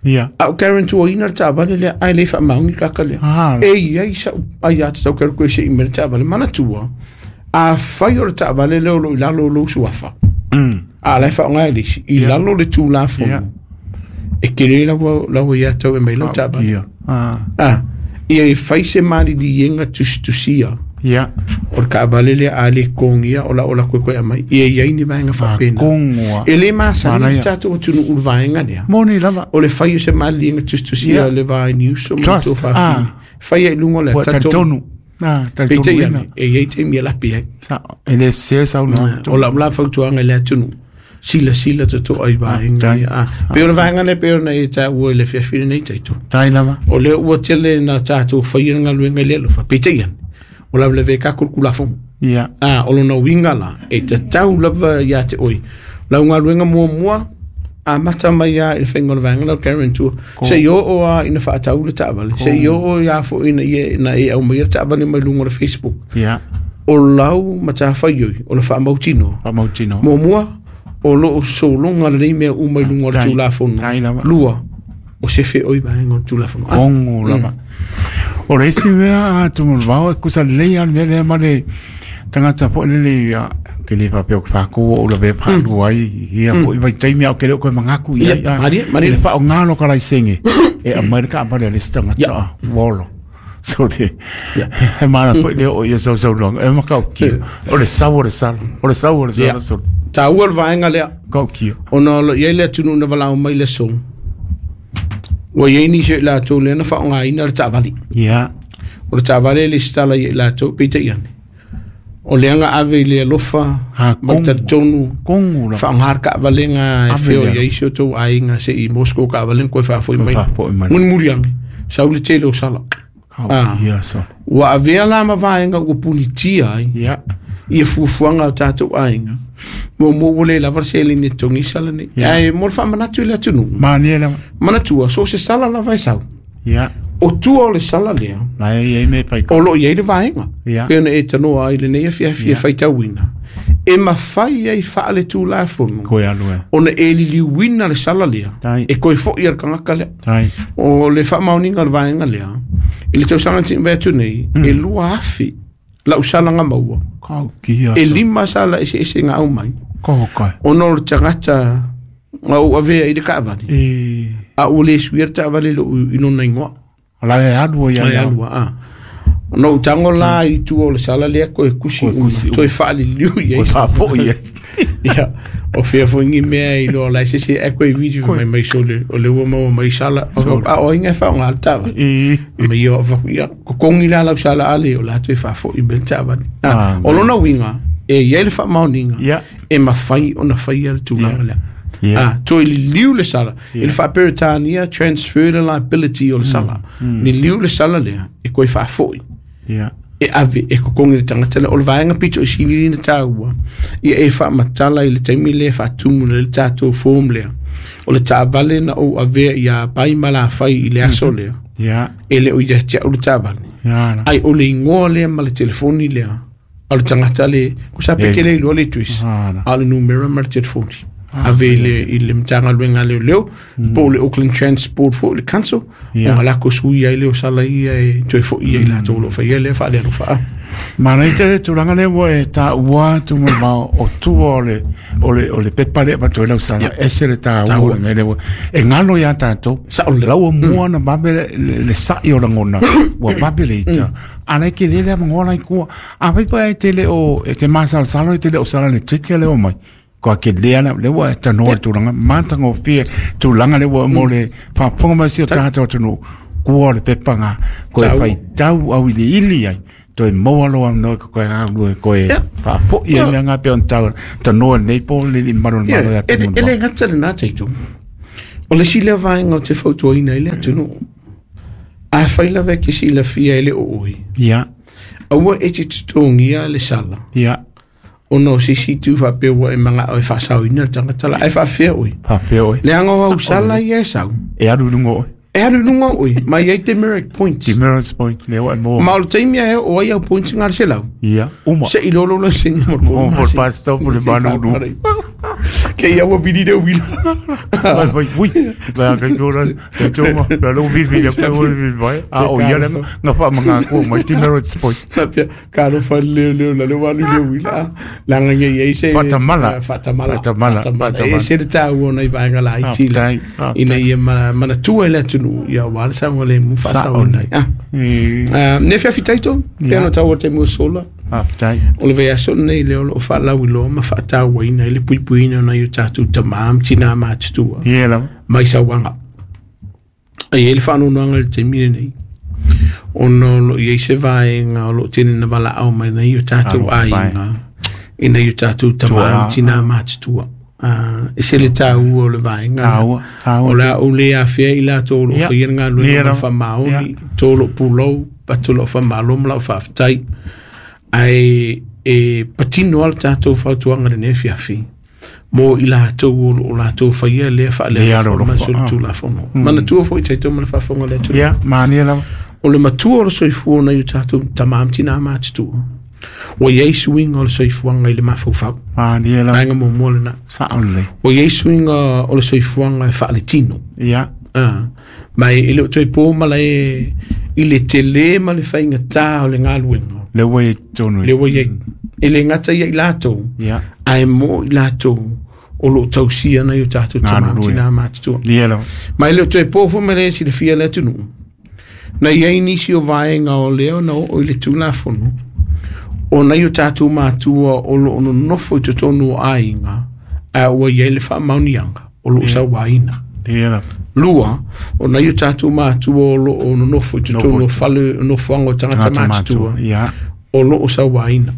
Speaker 2: Ia.
Speaker 1: A o guarantor ina le taavale lea ai le whaamaungi kaka lea.
Speaker 2: Ah.
Speaker 1: E iai sa ai ia tatau kero koe se i mere taavale. Manatua, a whai o le taavale lea o lo i lalo o lou suafa. A lai whaonga e lisi. I lalo le tūlafono.
Speaker 2: Ia.
Speaker 1: E kere lawa, lawa ia tau e mai lau taavale.
Speaker 2: Ia. Ah.
Speaker 1: Ah, ia e whai se mariri ienga tusitusia.
Speaker 2: Ia.
Speaker 1: O le kaavale lea a le kongia o la o la koe koe amai. Ia iai ni vaenga whapena.
Speaker 2: Kongoa.
Speaker 1: E le masani
Speaker 2: Manaia.
Speaker 1: i tātou atunuu le vaenga lea.
Speaker 2: Moni lava.
Speaker 1: O le whai o se mariri ienga tusitusia
Speaker 2: Ia.
Speaker 1: le vae ni uso ma
Speaker 2: Trust,
Speaker 1: tō whawhine.
Speaker 2: ah.
Speaker 1: Whai ai lunga le
Speaker 2: Ua
Speaker 1: tatonu.
Speaker 2: talitonu. Ah,
Speaker 1: Peitai
Speaker 2: talitonu
Speaker 1: ane, e iai te mia lapi ai.
Speaker 2: Sa e le sese sau no.
Speaker 1: O la la fautuaga i le atunuu. Sila sila totoa i vaenga
Speaker 2: tai.
Speaker 1: ia. Ah, pe o le vaenga lea pe ona e tāua i le fiafia nei taito.
Speaker 2: Tai lava.
Speaker 1: O lea ua tele na tātou whaia ngaluenga i le alofa. Peitai ane, o la leve kako le kulafono.
Speaker 2: Ia.
Speaker 1: Ah, o lona uiga la, e tatau lava ia te oe. Lau galuega muamua, a mata mai a i le faiga o le vaega lau guarantor. Se i oo a ina faatau le taavale. Se i oo ia foʻi ina ia na e aumaia le taavale mai luga o le Facebook.
Speaker 2: Ia.
Speaker 1: O lau matafaioi, o le faamautinoa.
Speaker 2: Faamautino.
Speaker 1: Muamua, o loo sologa lelei mea uma i luga o le
Speaker 2: Tai.
Speaker 1: tulafono.
Speaker 2: Tai lava.
Speaker 1: Lua, o se feoi vaega o le tulafono. Ah,
Speaker 2: Kongo lava. O le isi mea a Tumulvao e kusa lelei a le mea lea ma le tagata foi lele ia ke le faapea o ke fakou o lavea paalua ai ia foi vaitaimi a o ke le o koe magaku ia
Speaker 1: Ia, malie, malie.
Speaker 2: le faaaogā lo ka laisege e aumai le kaavale a le isi tagata
Speaker 1: Ia.
Speaker 2: a ua olo so le
Speaker 1: Ia.
Speaker 2: he mana foi lea o ia sausaunoaga e makaukia o le sau o le sala o le sau o le
Speaker 1: Ia.
Speaker 2: sala so
Speaker 1: Tāua le vaega lea.
Speaker 2: kaukia
Speaker 1: Ona o lo iai le atunuu na valao mai le aso. Ua iai nisi o i latou lea na faaaogāina le taavale.
Speaker 2: ia
Speaker 1: O le taavale e lesitala ia i latou peitai ane. O lea ga ave i le alofa
Speaker 2: Ha,
Speaker 1: ma le
Speaker 2: kongo.
Speaker 1: talitonu
Speaker 2: kongo lava
Speaker 1: faaaogā le kaavalega e
Speaker 2: Ave
Speaker 1: feo
Speaker 2: lea.
Speaker 1: iai si o tou aiga seʻi Moscow kaavalega koe faafoʻi mai.
Speaker 2: faafoʻi mai.
Speaker 1: Mulimuli age, sau le tele o sala.
Speaker 2: kaukia so
Speaker 1: Ua avea la ma vaega ua punitia ai
Speaker 2: ia
Speaker 1: ia fuafuaga o tatou aiga. Muamua ua le lava le seleni e togi sala nei.
Speaker 2: Ia.
Speaker 1: Ae mo le faamanatu i le atunuu.
Speaker 2: manie lava
Speaker 1: Manatua, so se sala lava e sau.
Speaker 2: ia
Speaker 1: O tua o le sala lea,
Speaker 2: la e iai me pai
Speaker 1: o loo iai le vaega.
Speaker 2: Ia.
Speaker 1: Pe ona e tanoa ai lenei afiafi e
Speaker 2: Ia.
Speaker 1: faitauina. E mafai ai faale tulafono.
Speaker 2: koe alu e
Speaker 1: Ona e liliuina le sala lea.
Speaker 2: Tai.
Speaker 1: E koe foʻi a le kagaka lea.
Speaker 2: tai
Speaker 1: O le faamaoniga o le vaega lea. I le tausaga tiʻi atu nei, e 2,000 lau salaga maua.
Speaker 2: kaukia
Speaker 1: E 5 sala eseese ga au mai.
Speaker 2: Kokai.
Speaker 1: Ona o le tagata ga ou avea i le kaavale.
Speaker 2: E
Speaker 1: A ua le suia le taavale lou i lona igoa.
Speaker 2: la e alu ia
Speaker 1: Ai
Speaker 2: ia.
Speaker 1: alua a. No u tango la i tua o le sala lea koe kusi
Speaker 2: Koe kusi
Speaker 1: uma. Toe faaliliu i ai.
Speaker 2: Koe faafoi ai.
Speaker 1: Ia. O fea foi ngi mea i loa lai se se e koe video mai mai so le o le ua maua mai sala. A o inga whaonga le taavale.
Speaker 2: E
Speaker 1: Ma ia o vaku ia. Ko kongi la lau sala ale o la toe faafoi me le taavale.
Speaker 2: Ah,
Speaker 1: O lona uiga e iai le faamaoniga
Speaker 2: Ia.
Speaker 1: e mafai ona faia le tulaga lea.
Speaker 2: Ia.
Speaker 1: Ah, toe liliu le sala. I le faaperetania transfer le liability o le sala. Liliu le sala lea e koe faafoi
Speaker 2: ia.
Speaker 1: e ave e kokogi le tagata lea. O le vaega pito i silili na tāua ia e faamatala i le taimi lea faatumu le tatou form lea. O le taavale na ou avea ia pai ma lafai i le aso lea.
Speaker 2: Ia.
Speaker 1: E le o ia te au le taavale.
Speaker 2: Ia la.
Speaker 1: Ai o le igoa lea ma le telefoni lea. O le tagata le, kusa
Speaker 2: Ia.
Speaker 1: peke le iloa le twist.
Speaker 2: Ah, la.
Speaker 1: A o le numera ma le telefoni. Ave i le Matagaluega a Leoleo, po o le Auckland Transport foi le Council, ona lako sui ai lea o sala ia e toe foi ai latou o lo o faia lea faalealofa.
Speaker 2: Manaia tele le tulaga lea ua e taua atu ma le vao o tua o le o le o le pepa lea e avatu ai lau sala, ese le taua o le mea lea ua e galo ia tatou.
Speaker 1: Sao lelei.
Speaker 2: La ua mua ona vave le sa'i o lagona, ua vave le ita. A la e tele le avanoa la i tua. Afai pe e te le o e te masalosalo e te le o sala i le ticket lea ua omai. Kua ke lea la le ua e tanoa le tulaga matagofie tulaga le ua mo le faafofoga mai si o tatou atunuu kua o le pepa nga koe faitau au iliili ai toe maua lou avanoa e koe galulue koe faafoi ai mea nga pei ona tau tanoa i lenei po le alii mamalu o le Malo ia
Speaker 1: E le gata lena tatou. O le isi lea vaega ou te fautuaina ai le atunuu, afai lava e te silafia e le o oe, aua e te totogia le sala. Ona o se isi itu faapea ua e manao e faasaoina le tagata la, ae faafefea oe?
Speaker 2: Faafefea oe?
Speaker 1: Leaga o au sala ia e sau.
Speaker 2: E alu i luga o oe.
Speaker 1: E alu i luga o oe, ma e i ai demerit points.
Speaker 2: Demerit point, lea ua e maua.
Speaker 1: Ma o le taimi e oo ai au points na o le 100.
Speaker 2: Ia, uma.
Speaker 1: Se i lolo la sina mo le
Speaker 2: Uma mo le bus stop o le malulu.
Speaker 1: Ke ia ua vili le uila.
Speaker 2: Vai, vai, ui. Vai, kai tōra, kai tōma, kai lō vili vili, kai lō vili vai. A o ia le nga whaamanga kua mai demerit point.
Speaker 1: Faapea, ka alofa le leoleo la le ua alu i le uila, leaga ne i ai se
Speaker 2: Faatamala.
Speaker 1: Faatamala.
Speaker 2: Faatamala,
Speaker 1: Faatamala. E ese le taua o nai vaega laiti la,
Speaker 2: Faafetai, faafetai.
Speaker 1: ina ia manatua e le atunuu, ia aua le saogalemu faasaoina ai. Ah. Ah, ne feafitai tonu, pei ona taua i le taimi ua sola.
Speaker 2: Faafetai.
Speaker 1: O le vaiaso lenei lea o lo o faalauiloa ma faatauaina ai le puipuiina o nai o tatou tama ma tina matutua
Speaker 2: Ia lava.
Speaker 1: mai sauaga. E i ai le faanoanoaga i le taimi lenei, ona o lo o i ai se vaega o lo o tele ina valaau mai nai o tatou aiga i nai o tatou tama ma tina matutua. E ese le taua o le vaega lea.
Speaker 2: Taua, taua
Speaker 1: O le a ou le afea i latou o lo o faia le galuega ma le faamaoni, to lou pulou, avatu lau faamalo ma lau faafetai. Ae e patino lava le tatou fautuaga i lenei afiafi mo i latou o lo o latou faia lea faaleaga ma solitulafono. Manatua foi tatou ma le faafofoga a le atunuu.
Speaker 2: Ia, manaia lava.
Speaker 1: O le matua o le soifua o nai o tatou tama ma tina matutua, ua i ai suiga o le soifuaga i le mafaufau.
Speaker 2: Manaia lava.
Speaker 1: Vaega muamua lena.
Speaker 2: Sao lelei.
Speaker 1: Ua i ai suiga o le soifuaga e faaletino.
Speaker 2: Ia.
Speaker 1: Ah, ma e le o toe po malae i le tele ma le faigata o le galuega.
Speaker 2: Lea ua i ai totonu.
Speaker 1: Lea ua i ai. E le gata ia i latou,
Speaker 2: Ia.
Speaker 1: ae mo i latou o lo o tausia nai o tatou tama ma tina matutua.
Speaker 2: Ia lava.
Speaker 1: Ma e le o toe po foi ma le silafia le atunuu. Na i ai nisi o vaega o lea na oo i le Tulafono, o nai o tatou matua o lo o nonofo i totonu o aiga, ae ua i ai le faamaoniaga o lo o sauaina.
Speaker 2: Ia lava.
Speaker 1: Lua, o nai o tatou matua o lo o nonofo i totonu o fale nofoaga o tagata matutua,
Speaker 2: Ia.
Speaker 1: o lo o sauaina.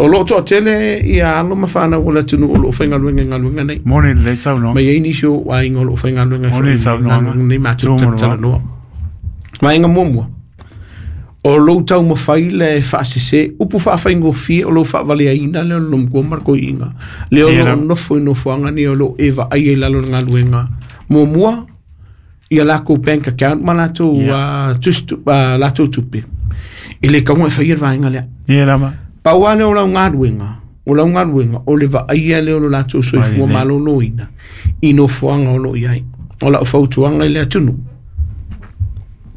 Speaker 1: O lo o toatele ia alo ma fanau o le atunuu o lo o faigaluega i galuega nei.
Speaker 2: Moni lelei saunoaga.
Speaker 1: Ma i ai nisi o aiga o lo o faigaluega
Speaker 2: Moni
Speaker 1: i
Speaker 2: saunoaga.
Speaker 1: galuega nei matou
Speaker 2: Tumu lava.
Speaker 1: talanoa. Vaega muamua, o lou taumafai le e faasese, upu faafaigofie o lou faavaleaina lea o le lomukua ma le koiiga. Lea o
Speaker 2: Ia
Speaker 1: lo o
Speaker 2: lava.
Speaker 1: nofo i nofoaga nei o lo o e vaai ai i lalo o le galuega. Muamua, ia lakou bank account ma latou latou tupe. E le taua e faia le vaega lea.
Speaker 2: Ia lava.
Speaker 1: Pau lava lea o lau galuega, o lau galuega, o le vaaia lea o lo latou soifua maloloina i nofoaga o lo o i ai. O lau fautuaga i le atunuu,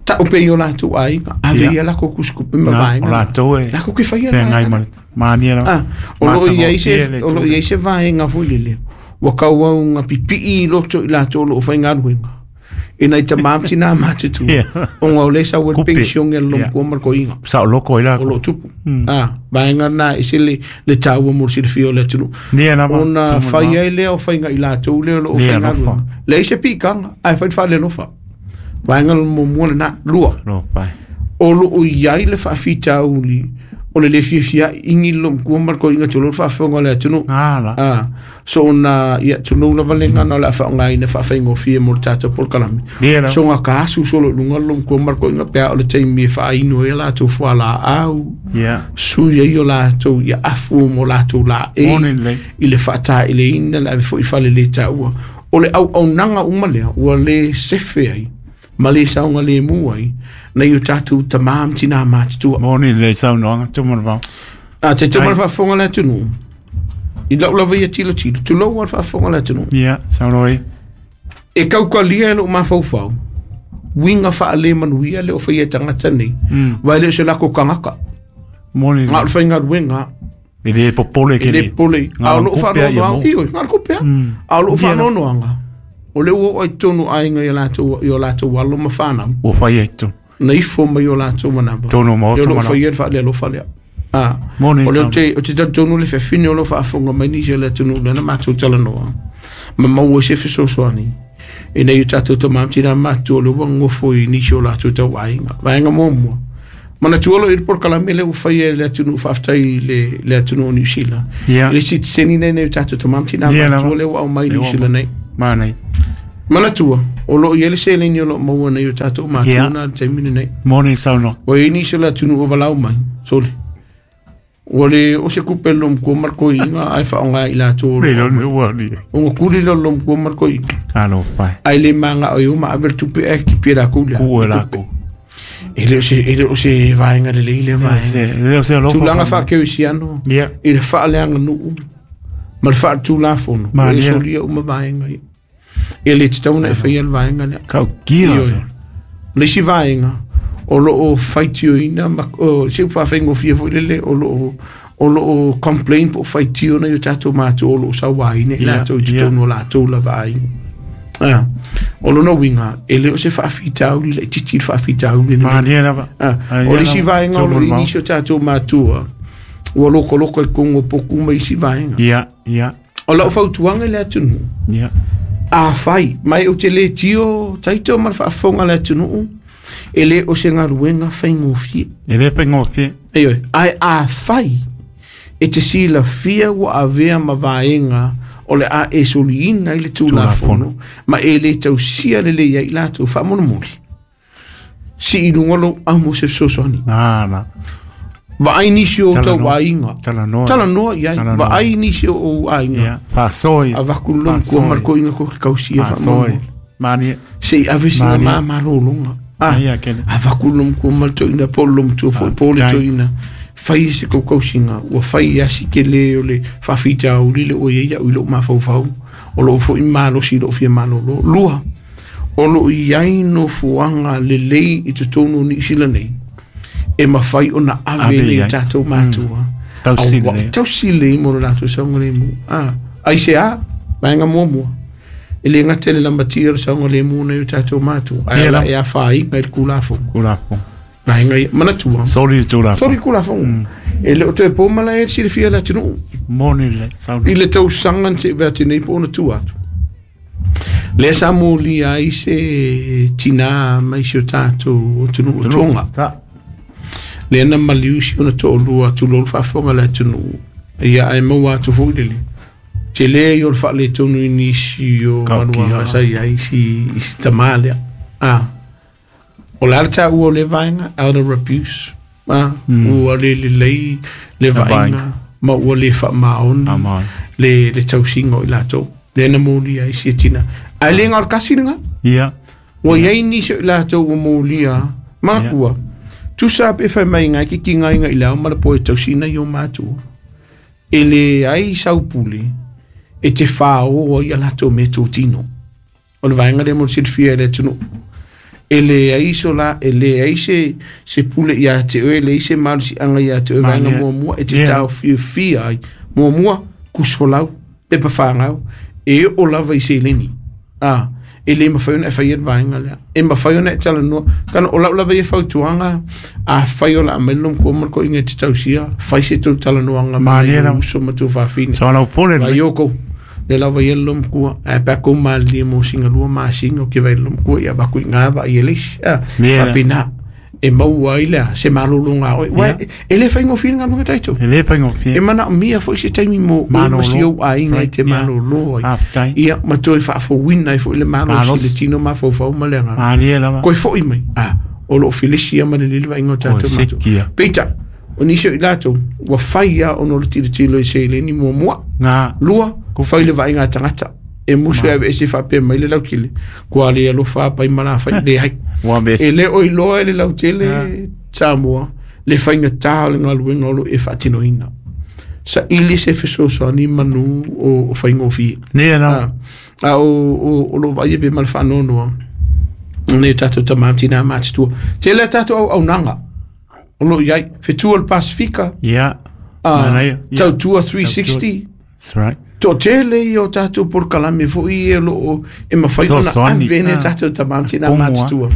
Speaker 1: tau pea i o latou aiga, ave ia lakou tusitupe ma
Speaker 2: Na,
Speaker 1: vaega.
Speaker 2: o latou e
Speaker 1: Lakou ke faia le
Speaker 2: feagai
Speaker 1: vaega
Speaker 2: ma
Speaker 1: lea.
Speaker 2: le mania lava.
Speaker 1: Ah, o lo o i ai se,
Speaker 2: Matagofie le
Speaker 1: o lo o i ai se vaega foi lele, ua tauau pipii i loto i latou o lo o faigaluega. I nai tama ma tina matutua.
Speaker 2: Ia.
Speaker 1: Ona o lea e sau ai le
Speaker 2: Kupe.
Speaker 1: pension e le
Speaker 2: Ia.
Speaker 1: lomukua ma le koiga.
Speaker 2: Sao loko ai
Speaker 1: O
Speaker 2: lakou.
Speaker 1: lo o tupu. Ah, vaega na e ese le taua mo le silafia o le atunuu.
Speaker 2: Ia lava.
Speaker 1: Ona
Speaker 2: Tumu
Speaker 1: fai
Speaker 2: lava.
Speaker 1: ai lea o faiga i latou lea o lo o
Speaker 2: Lea
Speaker 1: faigaluega.
Speaker 2: alofa.
Speaker 1: Leai se pikaga, ae fai le faalelofa. Vaega muamua lena. Lua,
Speaker 2: Lofa.
Speaker 1: o lo o i ai le faafitauli o le le fiafia igi le lomukua ma le koiga tulou le faafofoga o le atunuu.
Speaker 2: Ala.
Speaker 1: Ah, so ona ia tulou lava le gagana o le a faaaogaina faafaigofie mo le tatou polokalame.
Speaker 2: Ia lava.
Speaker 1: So ga ka asu solo i luga le lomukua ma le koiga pe a o le taimi e faainu ai a latou fualaau.
Speaker 2: Ia.
Speaker 1: Sui ai o latou ia afu mo latou laei
Speaker 2: Moni lelei.
Speaker 1: i le faataeleina le ave foi i fale le taua. O le auaunaga uma lea ua le sefe ai ma le saogalemu ai nai o tatou tama ma tina matutua.
Speaker 2: Moni lelei saunoaga, tumu le vao.
Speaker 1: A te tau ma le faafofoga le atunuu. I lau lava ia tilotilo, tulou a le faafofoga a le atunuu.
Speaker 2: Ia, saunoa ia.
Speaker 1: E kaukalia e lou mafaufau, uiga faale-manuia le o faia e tagata nei, aua e le o se lako tagata.
Speaker 2: Moni.
Speaker 1: Na o le faigaluega.
Speaker 2: E le popole
Speaker 1: E le popole. A o lou faanoanoaga, ioe, na o le tupe lava. A o lou faanoanoaga, o lea ua oo i totonu o aiga i o latou, i o latou alo ma fanau.
Speaker 2: Ua fai ai totonu.
Speaker 1: Na ifo mai o latou manava.
Speaker 2: Totonu o maota.
Speaker 1: O loo faia le faalealofa lea. Ah,
Speaker 2: Moni
Speaker 1: o lea ou te talitonu le fefine o lo faafofoga mai nisi o le atunuu lea na matou talanoa ma maua ai se fesoasoani ina ia tatou tama ma tina matutua o lea ua nofo i nisi o latou tauaiga. Vaega muamua, manatua loa i le polokalame lea ua faia e le atunuu, faafetai i le, le atunuu o Niu Sila.
Speaker 2: Yeah.
Speaker 1: I le sitiseni nei nei o tatou tama ma tina
Speaker 2: Yeah,
Speaker 1: matutua
Speaker 2: lava.
Speaker 1: lea ua aumai i
Speaker 2: Lea
Speaker 1: Niu
Speaker 2: ua
Speaker 1: Sila nei.
Speaker 2: Manaia.
Speaker 1: Manatua, o lo o i ai le seleni o lo o maua nei o tatou matua
Speaker 2: Yeah.
Speaker 1: na i le taimi lenei.
Speaker 2: Moni le saunoaga.
Speaker 1: Ua i ai nisi o le atunuu ua valaau mai, sole. Ua le o se kupe le lomkua ma le koiina ae faaaoga i latou o
Speaker 2: Le
Speaker 1: lo o
Speaker 2: lo le ua ni.
Speaker 1: Ona kuli lea o le lomkua ma le koiina.
Speaker 2: Talofa e.
Speaker 1: Ae le magao ai o ma ave le tupe ae kipi e lakou lea.
Speaker 2: Kuu e lakou.
Speaker 1: E le o se, e le o se vaega lelei lea vaega.
Speaker 2: Se, le o se alofa.
Speaker 1: Tulaga faakerisiano
Speaker 2: Yeah.
Speaker 1: i le faaleaganuu ma le faaletulafono. Ua
Speaker 2: Malia.
Speaker 1: e solia uma vaega ia. E le tatau ona e faia le vaega lea.
Speaker 2: Kaukia.
Speaker 1: Ioe. Le isi vaega o lo o faitioina ma o, se upu faafaigofie foi lele o lo o o lo o complain po o faitio nai o tatou matua o lo o sauaina i
Speaker 2: Yeah,
Speaker 1: latou i totonu o latou lava aiga. Ah, o lona uiga, e le o se faafitauli laitiiti le faafitauli lenei.
Speaker 2: Malia lava.
Speaker 1: Ah,
Speaker 2: Malia
Speaker 1: o le isi
Speaker 2: lava.
Speaker 1: vaega o lo o i
Speaker 2: Tolu
Speaker 1: nisi o tatou matua, ua lokoloko i totonu o poku ma isi vaega.
Speaker 2: Ia, ia,
Speaker 1: O lau fautuaga i le atunuu,
Speaker 2: ia.
Speaker 1: afai mai ou te le tio taito ma le faafofoga a le atunuu, e le o se galuega faigofie.
Speaker 2: E le faigofie.
Speaker 1: Ioe, ae afai e te silafia ua avea ma vaega o le a e soliina i le tulafono ma e le tausia lelei ai i latou faamolemole, sii luga lou amo se fesoasoani.
Speaker 2: Na, na.
Speaker 1: Vaai nisi o
Speaker 2: Talanoa.
Speaker 1: tau aiga.
Speaker 2: Talanoa.
Speaker 1: Talanoa i ai.
Speaker 2: Talanoa.
Speaker 1: Vaai nisi o ou aiga.
Speaker 2: Ia. Faasoi.
Speaker 1: Avaku lou kua ma le koiga ko ke kausia
Speaker 2: Faasoi.
Speaker 1: faamolemole.
Speaker 2: Malia.
Speaker 1: Se i ave sina
Speaker 2: Malia.
Speaker 1: māmalōloga. Ah,
Speaker 2: Ia, kele.
Speaker 1: avaku lou kua ma le toeaina po o le matua foi po o le
Speaker 2: tai.
Speaker 1: toeaina. Fai se kaukausiga ua fai asi ke le o le faafitauli le ua iai au i lou mafaufau o loo foi malosi i loo fia malōlō. Lua, o loo iai nofoaga lelei i totonu o Niu Sila nei e mafai ona ave
Speaker 2: Ave
Speaker 1: nei
Speaker 2: i ai.
Speaker 1: tatou matua.
Speaker 2: Tausili
Speaker 1: Aua-
Speaker 2: lea.
Speaker 1: Tausili mo le latou saogalemu. Ah, ai se a, vaega muamua. E le gata i le lamatia o le saogalemu nei o tatou matua. Ae
Speaker 2: Ia
Speaker 1: ala
Speaker 2: lava.
Speaker 1: e afaina i le kulafono.
Speaker 2: Kulafono.
Speaker 1: Vaega ia, manatua.
Speaker 2: Soli le tulafono.
Speaker 1: Soli kulafono. E le o toe po malae e silafia le atunuu.
Speaker 2: Moni le saunoaga.
Speaker 1: I le tausaga na se'i atu nei po o ona tua atu. Lea sa molia ai se tinā mai si o tatou atunuu o Tonga.
Speaker 2: Ta.
Speaker 1: Lea na maliu si ona to'alua tulou le faafofoga le atunuu. Ia ae maua atu foi lele. Tele ia o le faaletonu i nisi o
Speaker 2: Kaukia.
Speaker 1: manuaga sa i ai i si tamā lea. Ah. O le a le taua o le vaega, elder abuse. Ah, ua le lelei le vaaiga
Speaker 2: vaaiga.
Speaker 1: ma ua le faamaoni
Speaker 2: Faamaoni.
Speaker 1: le, le tausiga o i latou. Lea na molia ai sia tina. Ae le gao le kasi lena.
Speaker 2: Ia.
Speaker 1: Ua iai nisi o i latou ua molia makua. Tusa pe fai mai ngai ki ki ngai ngai lau ma le po e tausina i o matua. E le ai saupule e te whāo ai a latou me tōtino. O le vaenga lea mo le silafia e le atunuu. E le ai so la, e le ai se, se pule ia te oe, e le ai se malosiaga ia te oe vaega
Speaker 2: Malia.
Speaker 1: muamua e te
Speaker 2: Yeah.
Speaker 1: taofiofia ai. Muamua, kusifolau, pepa whāngau, e o lava i seleni. Ah, e le mawhai ona e whai e le vaenga lea. E mawhai ona e talanoa. Kana o lau lava ia fautuaga, a whai o la amelo mkua ma le koiga e te tausia, whai se tau talanoaga ma
Speaker 2: Malia
Speaker 1: le
Speaker 2: lava.
Speaker 1: uso ma tau whawhine.
Speaker 2: Sa lau pole
Speaker 1: Vai
Speaker 2: le.
Speaker 1: yoko. Le lava ia le mkua. A pa ko mali mo singa lua ma singa ke vai le mkua ia va ku ngā va ia leisi. Ah,
Speaker 2: Yeah.
Speaker 1: papina. E maua ai lea se malōlōga oe. Uae, e le faigofie le galuega taito.
Speaker 2: E le faigofie.
Speaker 1: E manaomia foi se taimi mo oe ma
Speaker 2: Malōlō.
Speaker 1: si ou aiga i te
Speaker 2: Right, yeah.
Speaker 1: malōlō ai.
Speaker 2: Faafetai.
Speaker 1: Ia, ma toe faafouina ai foi le malosi
Speaker 2: Malosi.
Speaker 1: le tino mafaufau ma le agaga.
Speaker 2: Malie lava.
Speaker 1: Koe fo'i mai. Ah, o loo felesi ia ma le lele vaaiga o tatou
Speaker 2: O,
Speaker 1: matua.
Speaker 2: sekia.
Speaker 1: Peitai, o nisi o i latou, ua fai a ona o le tilotilo i seleni muamua.
Speaker 2: Ngā.
Speaker 1: Lua, fai le vaaiga a tagata. E musu e aveese faapea mai le lautele. Kua le alofa a pai ma la fai, leai.
Speaker 2: Ua
Speaker 1: E
Speaker 2: mesi.
Speaker 1: le o iloa e le lautele Samoa, le faigatā o le galuega o loo e faatinoina. Saili se fesoasoani manu o faigofie.
Speaker 2: Ia lava.
Speaker 1: A o lou vaaia pe ma le faanoanoa nei o tatou tamā ma tinā matutua. Tele a tatou auaunaga o loo i ai, fetua o le Pasifika,
Speaker 2: Ia. Manaia. Ia.
Speaker 1: Tautua 360.
Speaker 2: That's right.
Speaker 1: Toatele ia o tatou polokalame foi ia o loo e mafai ona
Speaker 2: Fesoasoani.
Speaker 1: ave nei
Speaker 2: Ah.
Speaker 1: tatou tamā ma tinā
Speaker 2: Pomo, ah.
Speaker 1: matutua.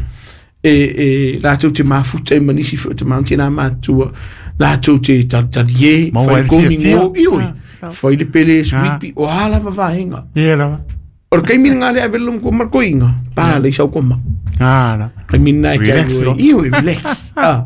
Speaker 1: E latou te mafuta ai ma nisi foi o tamā ma tinā matutua, latou te talitalie,
Speaker 2: Maua
Speaker 1: fai
Speaker 2: ai le
Speaker 1: komi
Speaker 2: fiafia.
Speaker 1: ngo, ioi,
Speaker 2: Ah.
Speaker 1: fai le pele
Speaker 2: Ah.
Speaker 1: sweepi, o a lava vaega.
Speaker 2: Ia lava.
Speaker 1: O le taimi lena le ave le ma le koiga, pa le sau koma.
Speaker 2: Ah, la.
Speaker 1: Taimi lena e te
Speaker 2: Relax,
Speaker 1: alu
Speaker 2: no?
Speaker 1: ai, ioi, relax. Ah.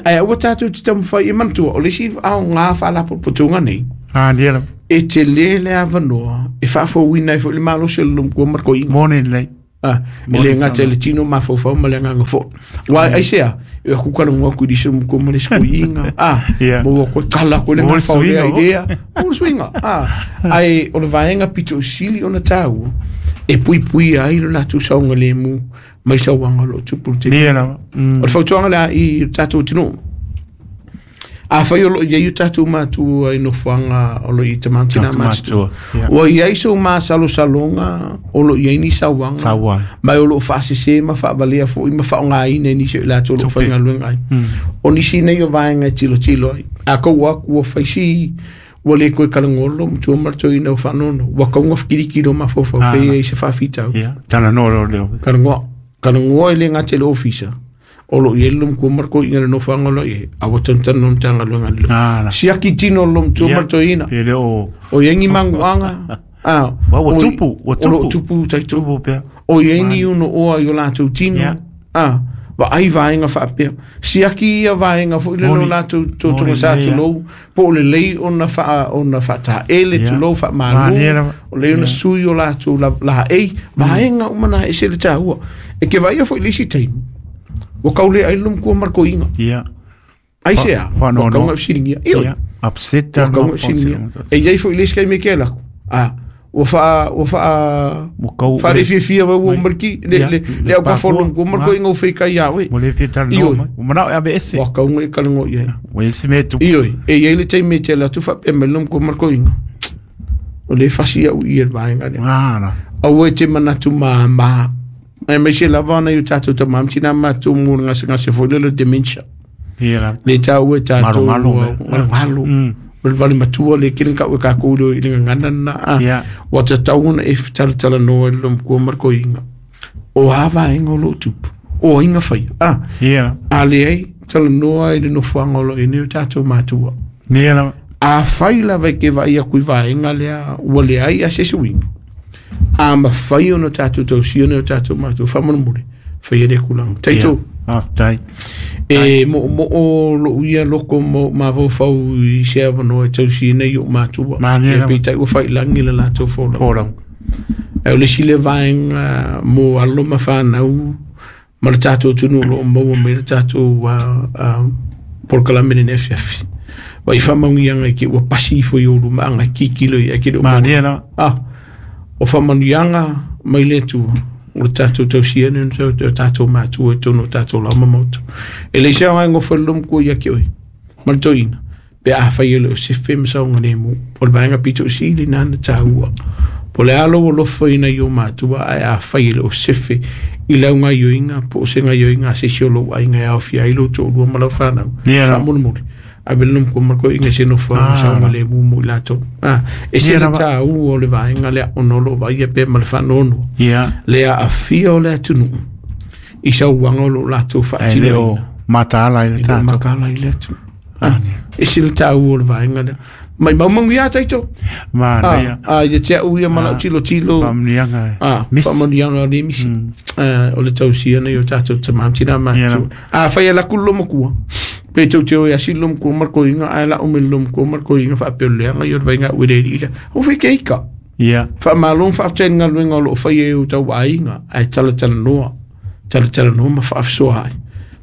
Speaker 1: Ae aua tatou te taumafai e manatua, o le isi aoga faalapotopotoga nei,
Speaker 2: Ah, ia lava.
Speaker 1: e tele le avanoa e faafouina ai foi le malosi o le lomkua ma le koiga.
Speaker 2: Moni lelei.
Speaker 1: Ah, e
Speaker 2: Moni
Speaker 1: le gata i
Speaker 2: sana.
Speaker 1: le tino mafaufau ma le agaga foi. Uae aisea, e aku kalagoa aku i lisi lomkua ma le isi koiga. Ah,
Speaker 2: Yeah.
Speaker 1: ma ua koe kala koe le
Speaker 2: Mo le
Speaker 1: gafao lea
Speaker 2: suiga,
Speaker 1: i
Speaker 2: o.
Speaker 1: lea. Mo le suiga. Ah, ae o le vaega pito sili ona tāua, e puipuia ai lo latou saogalemu mai sauaga o loo tupu le tele.
Speaker 2: Ia lava.
Speaker 1: O le fautuaga lea i o tatou atunuu. Afai o loo i ai o tatou matua i nofoaga o loo i tamā ma tinā
Speaker 2: Tatou
Speaker 1: matutua.
Speaker 2: matua, ia.
Speaker 1: Ua i ai so masalosaloga o loo i ai ni sauaga.
Speaker 2: Sauaga.
Speaker 1: Ma o loo faasesē ma faavalea foʻi ma faaaogāina e nisi o i latou o loo
Speaker 2: Tupe.
Speaker 1: faigaluega ai. O nisi nei o vaega e tilotilo ai. A kou aku ua faisi ua lē koe kalagolo matua ma le toeaina o faanono. Ua kauga fekilikilo mafaufau
Speaker 2: Ah.
Speaker 1: pe ai se faafitau.
Speaker 2: Ia. Talanoa loa leo.
Speaker 1: Kalagoa. Kalagoa e le gata i le ofisa. O loo i ai le lomkua ma le koiga i le nofoaga o loo i ai. A ua tanutanu le Matagaluega a le
Speaker 2: Ah, la.
Speaker 1: Siaki tino o le lomtua ma le toeaina.
Speaker 2: Pe le o
Speaker 1: O i ai ni maguaga. Ah,
Speaker 2: Ua- ua
Speaker 1: o i-
Speaker 2: tupu, ua
Speaker 1: O loo
Speaker 2: tupu.
Speaker 1: tupu taito.
Speaker 2: tupu pea.
Speaker 1: O i ai ni uno oa i o latou tino.
Speaker 2: Yeah.
Speaker 1: Ah, vaai vaega faapea. Siaki ia vaega foi le
Speaker 2: Moni.
Speaker 1: o latou totoga
Speaker 2: Moni
Speaker 1: sa
Speaker 2: lelei,
Speaker 1: tulou. Po o lelei ona faa ona faataele
Speaker 2: Yeah.
Speaker 1: tulou faamalo.
Speaker 2: Malie lava.
Speaker 1: O lelei ona sui o latou la laei. Vaega uma na e ese le tāua. E ke vaia foi le isi taimi. Ua kaulea ai le lomkua ma le koiga.
Speaker 2: Ia.
Speaker 1: Aisea,
Speaker 2: Fa-
Speaker 1: ua
Speaker 2: faanoanoa.
Speaker 1: kauga fesiligia. Ioe.
Speaker 2: Ia. Upset
Speaker 1: Ua
Speaker 2: taloa
Speaker 1: kauga fesiligia. E iai foi le isi taimi e ke alaku. Ah, ua faa ua faa
Speaker 2: Ua kau-
Speaker 1: faalefiafia mai ua mariki le
Speaker 2: Ia.
Speaker 1: le le au
Speaker 2: Le
Speaker 1: ka folo
Speaker 2: pakua.
Speaker 1: ma le koiga o feikai iā oe.
Speaker 2: Ua le fia talanoa
Speaker 1: Ioe.
Speaker 2: mai. Ua manao e ave ese.
Speaker 1: Ua kauga e kalago i ai.
Speaker 2: Ua ese mea e tupu.
Speaker 1: Ioe, e iai le taimi e te ala atu faapea mai le lomkua ma le koiga. O le fasi au i e le vaega lea.
Speaker 2: Ah, la.
Speaker 1: Aua e te manatu māmā. Aemaise lava ona i o tatou tamā ma tinā matou mo le gasegase foi lea o le dementia.
Speaker 2: Ia lava.
Speaker 1: Le tāua e tatou
Speaker 2: Malomalo,
Speaker 1: ua-
Speaker 2: me.
Speaker 1: malomalo. O le vale matua le kina kau e kākou leo i le gagana lena. Ah,
Speaker 2: Ia.
Speaker 1: ua tatau ona e fetalatalanoa i le lomkua ma le koiga. O a vaega o loo tupu. O aiga faia. Ah,
Speaker 2: Ia lava.
Speaker 1: a leai talanoa i le nofoaga o loo i nei o tatou matua.
Speaker 2: Ia lava.
Speaker 1: Afai lava e ke vaai aku i vaega lea ua leai a se isi uiga. A mafai ona tatou tausia nei o tatou matua faamolemole. Faia lea kulaga. Taito.
Speaker 2: Ah, tai.
Speaker 1: E moomoo lou ia loko ma mafaufau i se avanoa e tausia nei ou matua.
Speaker 2: Malie
Speaker 1: E
Speaker 2: lava.
Speaker 1: peitai ua failagi le latou folau.
Speaker 2: Folau.
Speaker 1: Ae o le isi le vaega mo alo ma fanau ma le tatou atunuu o loo maua mai le tatou polokalame lenei afiafi. Vaai faamanuiaga i ke ua pasi ifo i ou lumaaga e kikilo i ai ke le o maua.
Speaker 2: Malie lava.
Speaker 1: Ah, o faamanuiaga mai le Atua o le tatou tausia nei o tatou matua i totonu o tatou lauma maota. E le isi aoga e gofo i le lomkua ia te oe ma le toeaina, pe afai e le o sefe ma saogalemu, o le vaega pito sili lena na tāua. Po o le a lou alofa ina i o matua, ae afai e le o sefe i lau gaioiga po o se gaioiga a se isi o lou aiga e aofia ai lou toalua ma lau fanau.
Speaker 2: Ia lava.
Speaker 1: Faamolemole. Ave le lomkua ma le koiga i se nofoaga
Speaker 2: Ah.
Speaker 1: saogalemu mo i latou. Ah, e se
Speaker 2: Ia
Speaker 1: le
Speaker 2: lava.
Speaker 1: tāua o le vaega lea ona o loo vaaia pea ma le faanoanoa.
Speaker 2: Ia.
Speaker 1: Le aafia o le atunuu i sauaga o loo latou
Speaker 2: Ai le o
Speaker 1: faatinoina.
Speaker 2: mataala i le
Speaker 1: E le o
Speaker 2: tatou.
Speaker 1: makala i le atunuu.
Speaker 2: Ah,
Speaker 1: Ah, e se le tāua o le vaega lea. Mai maumanuia taito.
Speaker 2: Manaia.
Speaker 1: Ah, ah, ia te au ia ma lau tilotilo.
Speaker 2: Faamanuiaga e.
Speaker 1: Ah,
Speaker 2: Misi.
Speaker 1: faamanuiaga o le misi. Ah, o le tausia nei o tatou tamā ma tinā
Speaker 2: Ia
Speaker 1: matua. Afai e laku le lomakua, pe tou te o e asi le lomakua ma le koiga, ae lau mai le lomakua ma le koiga faapea o le leaga ia o le vaiga au e le alii lea. Ua fai ke ika.
Speaker 2: Ia.
Speaker 1: Faamalo ma faafetai i le galuega o loo faia e o tau aiga, ae talatalanoa, talatalanoa ma faafesoa ai.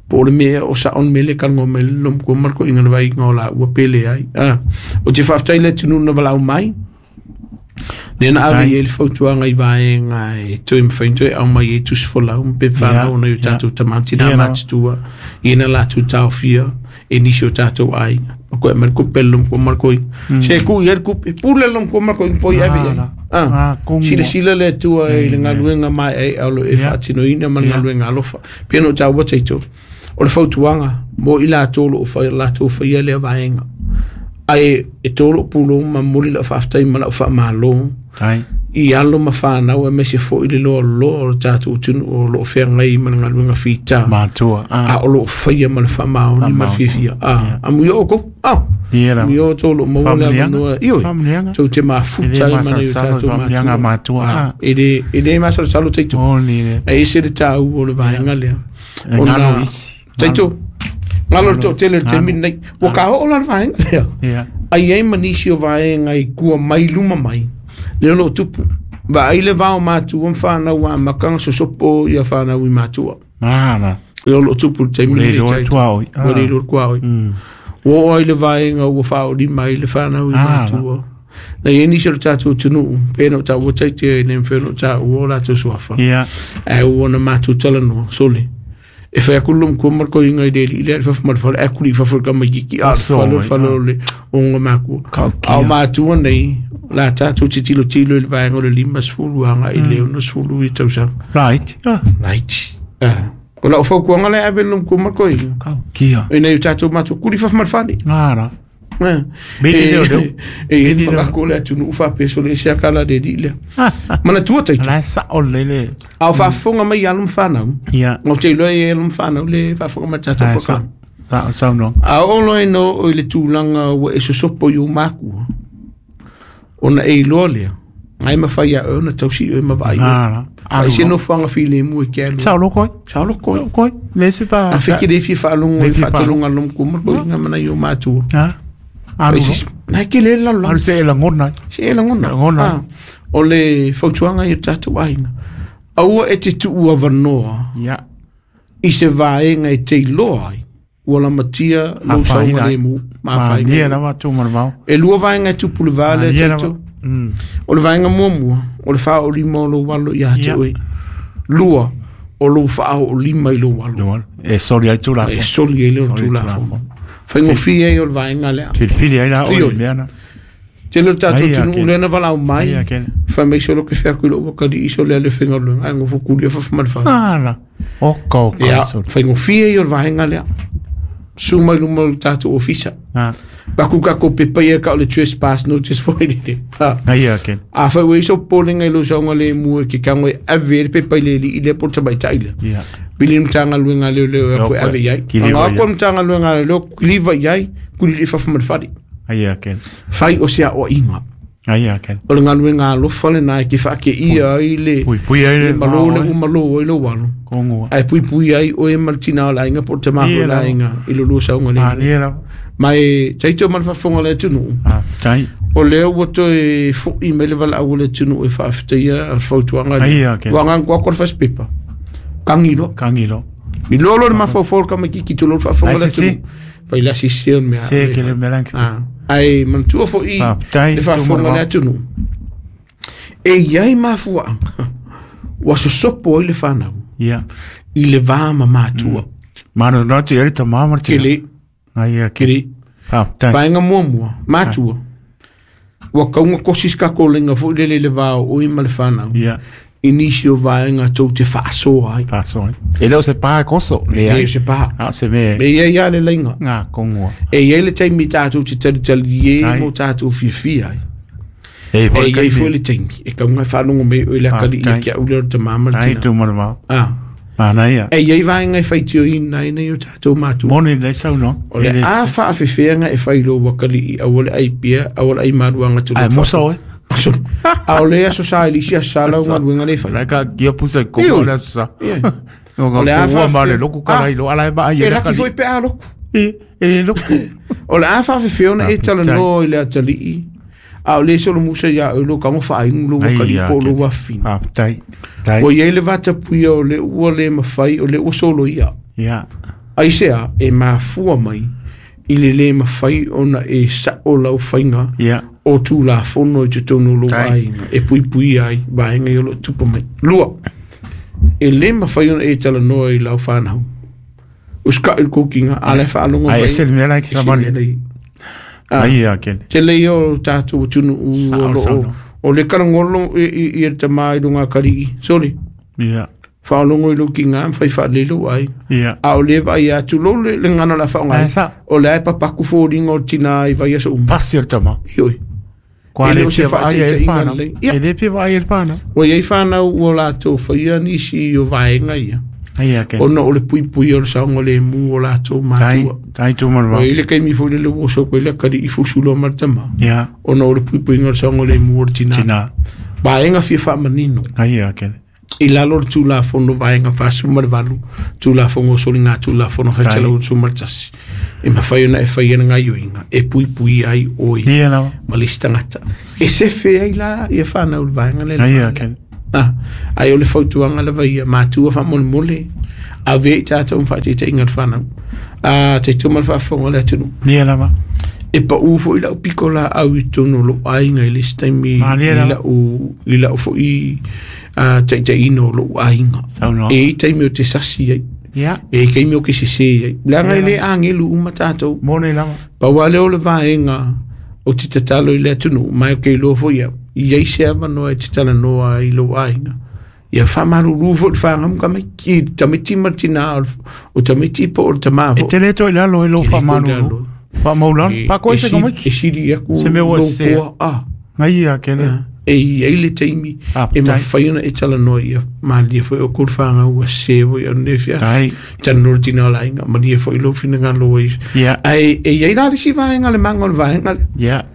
Speaker 1: Po o le mea o sao le mea le kalagoa mai le lomakua ma le koiga le vaiga o laua pe leai. Ah, o te faafetai le atunuu na valaau mai. Lea na ave i ai le fautuaga i vaega e toe mafai ona toe aumai ai tusi folau ma pepa fanau ona i o tatou tama ma tinā matutua i na latou taofia e nisi o tatou aiga. Ma koe aumai le kupe le luma ma le koiga. Se tuu i ai le kupe, pule le luma ma le koiga po i ave i ai. Ah, silasila le Atua i le galuega maeaea o lo o e faatinoina ma le galuega alofa. Pei ona ou taua taito, o le fautuaga mo i latou o lo o fai, latou faia lea vaega. Ae e to lou pulou ma momoli lau faafetai ma lau faamalo i alo ma fanau aemaise foi le loaloa o le tatou atunuu o lo o feagai ma le galuega fita
Speaker 2: matua,
Speaker 1: a o lo o faia ma le faamaoni ma le fiafia. Amuia outou, amuia outou o lo o maua le avanoa, ioe, tou te mafuta ai ma nai o tatou matua. E le masalosalo taito, e ese le taua o le vaega lea.
Speaker 2: Ona
Speaker 1: taito, ngalo le toatele o le taimi lenei, ua kaoo la le vaega lea. Ai ai ma nisi o vaega i tua mai luma mai, lea o lo o tupu. Vaai le vao matua ma fanau amata ona sosopo ia fanau i matua. Lea o lo o tupu le taimi lenei taito. Ua le iloa le tuaoi. Ua oo ai le vaega ua faaolima ai le fanau i matua. Na i ai nisi o le tatou atunuu, pe na o taua taite, e le mafai ona taua o latou suafa. Ae ua na matou talanoa, sole. E fai atu le matua ma le koiga i le alii lea, le fafo ma le fale, ae kuli i fafo i le tamaitiiti, a o le fale o le fale o le o matua. A o matua nei, la tatou tilotilo i le vaega o le 50 agai i le 60 i tausaga.
Speaker 2: Right.
Speaker 1: Right. O lau fautuaga lea ave le matua ma le koiga.
Speaker 2: Kia.
Speaker 1: I nei o tatou matua, kuli i fafo ma le fale. E i ai le manatu o le atunuu faapea sole ese a kala le alii lea. Manatua taito. A o faafofoga mai alo ma fanau. Ou te iloa e alo ma fanau le faafofoga mai tatou polokalame. A oo loa ina oo i le tulaga ua e sosopo i ou matua, ona e iloa lea, ai mafai ia oe ona tausi oe ma vaai oe. Ai se nofoaga filemu e te alu.
Speaker 2: Sao loko ai.
Speaker 1: Sao loko ai.
Speaker 2: Koi. Le se pa.
Speaker 1: A feke le fia faalogo i faataloga a le matua ma le koiga ma nai o matua.
Speaker 2: Alu.
Speaker 1: Nai ke le lalo.
Speaker 2: Alu se e lagona.
Speaker 1: Se e lagona. O le fautuaga i o tatou aiga. Aua e te tuu avanoa. I se vaega e te iloa ai. Ua lamatia lou saogalemu ma afaina. E lua vaega e tupu le va lea taito. O le vaega muamua, o le faaolima o lou alo ia te oe. Lua, o lou faaolima i lou alo.
Speaker 2: E soli ai tulafono.
Speaker 1: E soli ai le tulafono. Faigofie ai o le vaega lea.
Speaker 2: Filifili ai la o le mea na.
Speaker 1: Tele o le tatou atunuu lea na valaau mai. Fai mai solo ke fea ku lo wakali iso le le faigaluega. Ai ngofo kulia fafo ma le fale.
Speaker 2: Ala. Oka oka.
Speaker 1: Ia, faigofie ai o le vaega lea. Su mai luma o le tatou ofisa. Baku ka ko pepa ia ka o le trespass notice foi le. A fai ua iso polenga i lo saunga le mua ke kango e ave le pepa i le li i le po tamaitai le. Pili mtanga luenga leo leo e koe ave iai. Anga ako mtanga luenga leo kiliva iai kuli le fafo ma le fale. Fai o sea o inga. O le galuega alofa lena e ke faakeia ai le malo le umalo ai lo alo. Ae puipui ai oe ma le tina o le aiga po o le tama foi o le aiga i lo lua sauga le. Ma e taito ma le faafofoga o le atunuu. O lea ua toe fo'i mai le valaau o le atunuu e faafetaia le fautuaga lea. Ua agaga atu le fasipepa. Kagi loa. I loa loa le mafaufau o le tamaitiiti tulou le faafofoga o le atunuu. Fai le asisi o le mea. Ae manatua foi le faafofoga o le atunuu. E i ai mafuaaga ua sosopo ai le fanau i le va ma matua. Kele. Kele. Vaega muamua, matua. Ua kaunga kosi se tatou laina foi lele i le va o oe ma le fanau. I nisi o vaega tou te faasoa ai.
Speaker 2: E le o se pa e koso.
Speaker 1: E le o se pa.
Speaker 2: Se me.
Speaker 1: E iai lava le laina. E iai le taimi tatou te talitali e mo tatou fiafia ai.
Speaker 2: E
Speaker 1: E iai foi le taimi e kaunga e faalogo mai oe le akalii ia ke au lea o le tamā ma le tina. E iai vaega e faitioina ai nei o tatou matua. O le a faafefeaga e fai lou akalii aua le ai pia, aua le ai maluaga tulou A o le aso sa i le isi aso sa lau galuega le fai. O le a E laki foi pe a loku. O le a faafefea ona e talanoa i le atalii, a o le solomusa ia oe lou tago faaigu lou akalii po o lou afafine. Ua iai le vatapuia o le ua le mafai, o le ua soloia. Aisea e mafua mai i le le mafai ona e sao lau faiga. O tulafono i totonu o lou aiga e puipuia ai vaega ia o lo o tupu mai. Lua, e lē mafai ona e talanoa i lau fanau. Usikaʻi le kokiga a lae faalogo
Speaker 2: mai. Ai ese le mea la e
Speaker 1: ese le mea lai.
Speaker 2: Ai ia kele.
Speaker 1: Tele ia o tatou atunuu o lo o o le kalagolo i le tamā i luga kalii. Sole.
Speaker 2: Ia.
Speaker 1: Faalogo i lou kiga ma fai faalelei lou aiga.
Speaker 2: Ia.
Speaker 1: A o le vaai atu lou le gagana o le a faaaogaina. O le a e papaku foliga o le tinā i vaiaso uma.
Speaker 2: Pasi o le tama.
Speaker 1: Ioe.
Speaker 2: Kua
Speaker 1: E le
Speaker 2: le
Speaker 1: o se
Speaker 2: fia vaai ai le
Speaker 1: faataitaiga
Speaker 2: whanau.
Speaker 1: lelei. Ia.
Speaker 2: E le fia vaai ai le whanau.
Speaker 1: Ua i ai fanau ua latou faia nisi o vaega ia.
Speaker 2: Ai a kele.
Speaker 1: Ona o le puipuia o le saogalemu o latou
Speaker 2: Tai,
Speaker 1: matua.
Speaker 2: tai tu mana
Speaker 1: Ua i ai le taimi foi lele ua oso atu ai le atalii fusu loa ma le tama.
Speaker 2: Ia.
Speaker 1: Ona o le puipuiga o le saogalemu o le tinā.
Speaker 2: Tina.
Speaker 1: Vaega fia faamanino.
Speaker 2: Ai a kele.
Speaker 1: I lalo o le Tulafono Vaega 48, Tulafono o Soliga Tulafono 161, e mafai ona e faia le gaioiga e puipuia ai oe
Speaker 2: Ia lava.
Speaker 1: ma le isi tagata. E sefe ai la ia fanau i le vaega lea i le
Speaker 2: Ai a
Speaker 1: vaega lea.
Speaker 2: kele.
Speaker 1: Ah, ai o le fautuaga lava ia matua faamolemole, ave i tatou ma faataitaiga i le fanau. Ah, taitau ma le faafofoga o le atunuu.
Speaker 2: Ia lava.
Speaker 1: E pau foi lau piko laau i totonu o lou aiga i le isi taimi
Speaker 2: Malie
Speaker 1: i
Speaker 2: lava.
Speaker 1: lau i lau foi taitaiina o lou aiga.
Speaker 2: Saunoa.
Speaker 1: E i ai taimi o te sasi ai.
Speaker 2: Ia.
Speaker 1: E i taimi o ke sese ai. Leaga e le agelu uma tatou.
Speaker 2: Moni lava.
Speaker 1: Pau lava lea o le vaega o te tatalo i le atunuu, ma e ke iloa foi au, i ai se avanoa e te talanoa ai i lou aiga. Ia faamalulu foi le fagamu tamaiti, tamaiti ma le tinā o le- o tamaiti po o le tamā
Speaker 2: E
Speaker 1: foi.
Speaker 2: te le toi lalo e lou
Speaker 1: Te le toi
Speaker 2: whamalulu.
Speaker 1: lalo.
Speaker 2: Whamaulalo.
Speaker 1: E-
Speaker 2: Pā koe
Speaker 1: e
Speaker 2: se
Speaker 1: sili-
Speaker 2: kamaiki.
Speaker 1: E sili aku
Speaker 2: Se mea ua
Speaker 1: lou
Speaker 2: sesea.
Speaker 1: koa, ah.
Speaker 2: Ngai ia kele.
Speaker 1: E i ai le taimi
Speaker 2: Ah,
Speaker 1: e
Speaker 2: tai.
Speaker 1: mafai ona e talanoa ia malie foi o kou fagau ua sesē foi au nei afiafi.
Speaker 2: Tai.
Speaker 1: Talanoa le tinā o le aiga, malie foi lou finagalo ai.
Speaker 2: Ia.
Speaker 1: Ae e i ai la le isi vaega le maga o le vaega lea.
Speaker 2: Ia.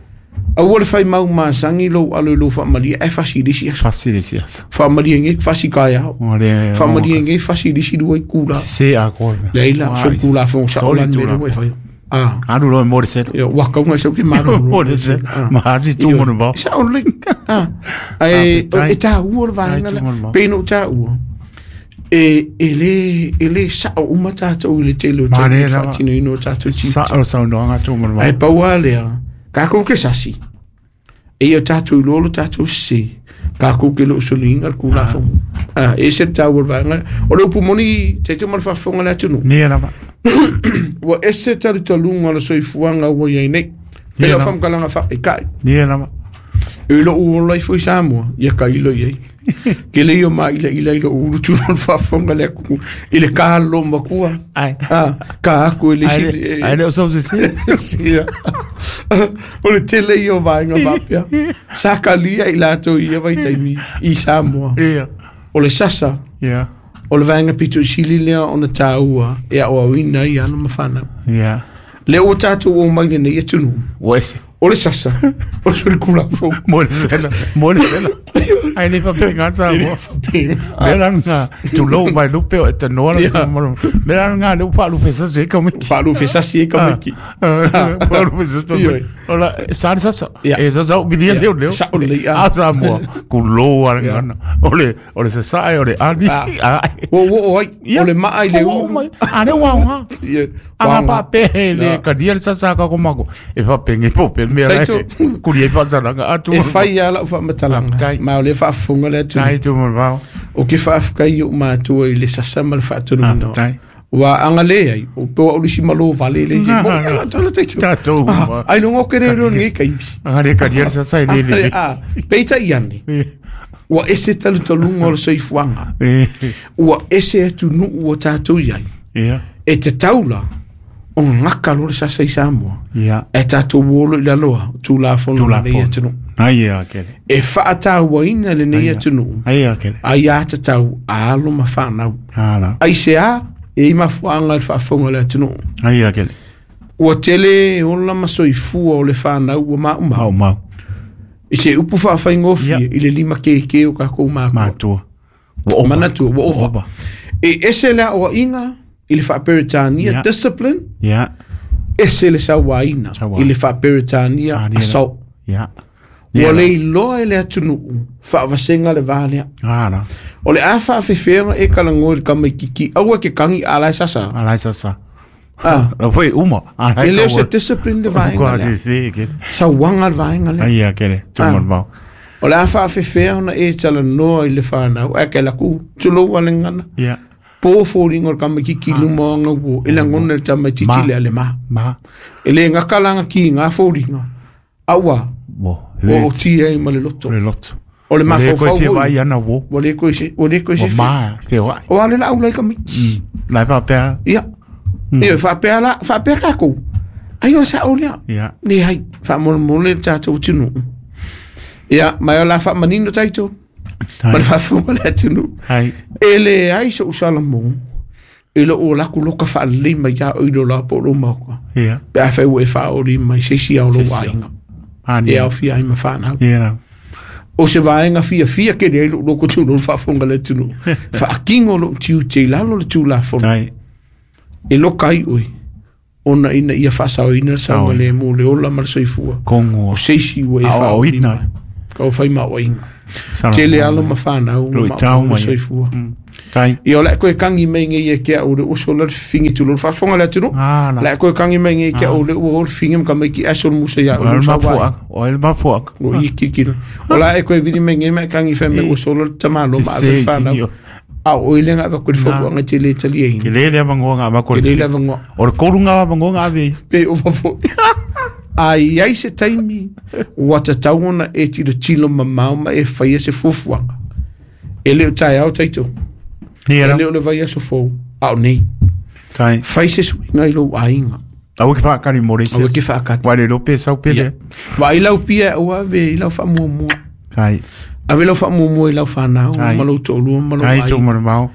Speaker 1: Aua le faimau masagi lou alo i lou faamalie ae fasi i le isi aso.
Speaker 2: Fasi le si aso.
Speaker 1: Faamalie nei fasi kaeao.
Speaker 2: O le.
Speaker 1: Faamalie nei fasi i le isi lua itula.
Speaker 2: Se a koe.
Speaker 1: Leai la, solitulafono sao la le mea lea ua e faia. Ah.
Speaker 2: Alu loa e mo le selo.
Speaker 1: Ia, ua kauga sau ke malo.
Speaker 2: Mo le selo. Ma hati tu mo bao.
Speaker 1: Sao lelei. Ah. Ae
Speaker 2: Tai.
Speaker 1: e tāua le vaega
Speaker 2: Tai
Speaker 1: lea.
Speaker 2: tu mo le bao.
Speaker 1: Pei ona ou tāua. E e le e le sao uma tatou i le tele o
Speaker 2: Ma
Speaker 1: taimi
Speaker 2: le lava.
Speaker 1: faatinoina o tatou tiute.
Speaker 2: Sa o saunoaga tu mo le
Speaker 1: Ae
Speaker 2: bao.
Speaker 1: pau lava lea, kākou ke sasi. E ia tatou iloa lo tatou sese. Kākou ke le o soliga le kulafono. Ah, e ese le tāua o le vaega lea. O le upu moni, taitau ma le faafofoga le atunuu.
Speaker 2: Nia lava.
Speaker 1: Ua ese talutaluga o le soifuaga ua iai nei.
Speaker 2: Ia
Speaker 1: Pei lau
Speaker 2: lava.
Speaker 1: faamatalaga faaikaʻi.
Speaker 2: Nia lava.
Speaker 1: E lou ola ifo i Samoa, ia kailo i ai. Ke le ia maʻilaʻila i lou ulu tuna o le faafofoga le atu i le kalo makua.
Speaker 2: Ai.
Speaker 1: Ah, ka aku e le
Speaker 2: Ai
Speaker 1: isi.
Speaker 2: le ai le o sau se se.
Speaker 1: Ia. O le tele ia o vaega faapea. Sa kalia i latou i ia vaitaimi i Samoa.
Speaker 2: Ia.
Speaker 1: O le sasa,
Speaker 2: Ia.
Speaker 1: o le vaega pito i sili lea ona tāua e aoaoina ai alo ma fanau.
Speaker 2: Ia.
Speaker 1: Lea ua tatou o mai lenei atunuu.
Speaker 2: Ua ese.
Speaker 1: O le sasa, o le solikulafou.
Speaker 2: Mo le selo. Mo le selo. Ai le whapenga tā
Speaker 1: E le
Speaker 2: mo.
Speaker 1: faapena.
Speaker 2: Mera ngā tulou mai lupe o e te noa la
Speaker 1: Ia.
Speaker 2: se mo. Mera ngā le upa lupe sa se kamiki.
Speaker 1: Faalufe sasi e kamiki.
Speaker 2: Upa lupe sa se
Speaker 1: Ioi.
Speaker 2: Ola, sa le sasa.
Speaker 1: Ia.
Speaker 2: E sasa o milia
Speaker 1: Ia.
Speaker 2: leo leo.
Speaker 1: Sa o lelei, ah.
Speaker 2: A sa mua. Kulou a
Speaker 1: Ia.
Speaker 2: ngana. O le sasae, o le ali.
Speaker 1: Ah.
Speaker 2: Ah.
Speaker 1: Ua ua o ai,
Speaker 2: Ia.
Speaker 1: o le maa i le
Speaker 2: Ua o
Speaker 1: ulu.
Speaker 2: mai. A le ua ngā.
Speaker 1: Ia,
Speaker 2: Anga
Speaker 1: waga.
Speaker 2: pa pe le
Speaker 1: Ia.
Speaker 2: kadia le sasa ka komako. E fa penge po pe mea
Speaker 1: Taito.
Speaker 2: lai. Kuri e whantalanga atu.
Speaker 1: E fai lava lau faamatalaga
Speaker 2: Tai.
Speaker 1: ma o lea faafofoga le atunuu.
Speaker 2: Tai tu mo vao.
Speaker 1: O ke faafekai o matua i le sasa ma le faatonuina.
Speaker 2: Ah, tai.
Speaker 1: Ua agalē ai, o pe ua ulisi malo vale le i. Mo ia la tala taito.
Speaker 2: Tatou.
Speaker 1: Ah, ai longo ke re ro ni kaimi.
Speaker 2: Anga le kadia le sasa i le le.
Speaker 1: Ah, peitai ane. Ua ese talutaluga o le soifuaga. Ua ese atunuu ua tatou iai.
Speaker 2: Ia.
Speaker 1: E te taula o gaka lo le sasa i Samoa.
Speaker 2: Ia.
Speaker 1: E tatou olo i laloa, tulafono o lenei atunuu.
Speaker 2: Ai ia kele.
Speaker 1: E faatauaina lenei atunuu.
Speaker 2: Ai ia kele.
Speaker 1: Ai a tatau a alo ma fanau.
Speaker 2: Ala.
Speaker 1: Ai se a, e i mafuaga i le faafofoga o le atunuu.
Speaker 2: Ai ia kele.
Speaker 1: Ua tele ola ma soifua o le fanau ua maumau.
Speaker 2: Mau mau.
Speaker 1: I se upu faafaigofie
Speaker 2: Ia.
Speaker 1: i le lima kēkē o kakou makua.
Speaker 2: Matua. Ua opa.
Speaker 1: Manatua, ua ova.
Speaker 2: Opa.
Speaker 1: E ese le aoaiga i le faaperetania
Speaker 2: Ia.
Speaker 1: discipline,
Speaker 2: Ia.
Speaker 1: ese le sauaina
Speaker 2: Sauaina.
Speaker 1: i le faaperetania
Speaker 2: Ah, nia.
Speaker 1: assault.
Speaker 2: Ia.
Speaker 1: Ua le iloa e le atunuu faavasega le va lea.
Speaker 2: Ala.
Speaker 1: O le a faafefeaga e kalagoa i le kamaititi aua ke kagi a lae sasa.
Speaker 2: Ala sasa.
Speaker 1: Ah.
Speaker 2: La foi uma. Ah,
Speaker 1: E le o se discipline le vaega
Speaker 2: Kwa
Speaker 1: lea.
Speaker 2: se se ke.
Speaker 1: Sauaga le vaega lea.
Speaker 2: Ai a kele. Tu
Speaker 1: Ah.
Speaker 2: mo.
Speaker 1: O le a faafefea ona e talanoa i le fanau ae ke laku tulou a le gagana.
Speaker 2: Ia.
Speaker 1: Po foliga o le tamaititi i luma o aga uo e lagona le tamaititi
Speaker 2: Ma.
Speaker 1: lea le ma.
Speaker 2: Ma.
Speaker 1: E le gakalaga kiga foliga aua
Speaker 2: Mo.
Speaker 1: ua otia ai ma le loto.
Speaker 2: Le loto.
Speaker 1: O le
Speaker 2: Le ko
Speaker 1: mafaufau
Speaker 2: fia
Speaker 1: foi
Speaker 2: vai ana wo.
Speaker 1: ua le koe se ua le koe se
Speaker 2: Mo
Speaker 1: fia.
Speaker 2: ma fia vai.
Speaker 1: O a le laau lai tamaiti.
Speaker 2: Lai pa pea.
Speaker 1: Ia. Ia faapea la faapea kākou. Ai o le sa'o lea.
Speaker 2: Ia.
Speaker 1: Le ai faamolemole le tatou atunuu. Ia ma e o le a faamanino taito ma le faafofoga le atunuu.
Speaker 2: Hai.
Speaker 1: E leai so'u salamo e loo laku loka faalelei mai ia oi lo la po o lou maoka.
Speaker 2: Ia.
Speaker 1: Pe afai ua e faaoli mai se isi ao lou
Speaker 2: Se isi ao.
Speaker 1: aiga.
Speaker 2: Ani.
Speaker 1: E aofia ai ma fanau.
Speaker 2: Ia.
Speaker 1: O se vaega fiafia ke leai lou loko tulou le faafofoga le atunuu. Faakigo lou tiute i lalo le tulafono.
Speaker 2: Tai.
Speaker 1: E loka ai oe ona ina ia faasaoina le saogalemu le ola ma le soifua.
Speaker 2: Kongo.
Speaker 1: O se isi ua e
Speaker 2: Ao-
Speaker 1: faaoli
Speaker 2: aoina.
Speaker 1: mai. Kau fai maoaiga.
Speaker 2: Sala.
Speaker 1: Tele alo ma fanau
Speaker 2: Loi
Speaker 1: ma
Speaker 2: tau
Speaker 1: le
Speaker 2: mai.
Speaker 1: soifua.
Speaker 2: Tai.
Speaker 1: Ia o le a koe kagi mai nei ia ke au le uso la le fifigi tulou le faafofoga le atunuu.
Speaker 2: Ah, la.
Speaker 1: Le a koe kagi mai nei ke au le ua o le fifigi ma tamaiti aso le musa ia
Speaker 2: O
Speaker 1: o le
Speaker 2: le
Speaker 1: usa uai.
Speaker 2: mafuaga. O le mafuaga.
Speaker 1: O i kilikili. O la e koe vili mai nei ma e kagi fai mai ua sola le tamalo ma ave le
Speaker 2: Se
Speaker 1: fanau.
Speaker 2: se.
Speaker 1: A o ile nga va koe le fautuaga te le taliaina.
Speaker 2: Ke le le vangoa nga va ko.
Speaker 1: Ke le lava ngoa.
Speaker 2: O le kolunga va vangoa nga ve.
Speaker 1: Pe o fafo. A iai se taimi ua tatau ona e tilotilo mamao ma e faia se fuafuaga. E le o taeao taito.
Speaker 2: Ia.
Speaker 1: E le o le vaiaso fou. A o nei.
Speaker 2: Tai.
Speaker 1: Fai se suiga i lou aiga.
Speaker 2: Au ke whakari mo
Speaker 1: Aua ke whaakati.
Speaker 2: Wai le lope sau pele.
Speaker 1: Ia. Vaai lau pia ua ave i lau faamuamua.
Speaker 2: Kai.
Speaker 1: Ave lau faamuamua i lau fanau
Speaker 2: Ai.
Speaker 1: ma lou toalua ma lou
Speaker 2: Kai tō
Speaker 1: aiga.
Speaker 2: mana mau.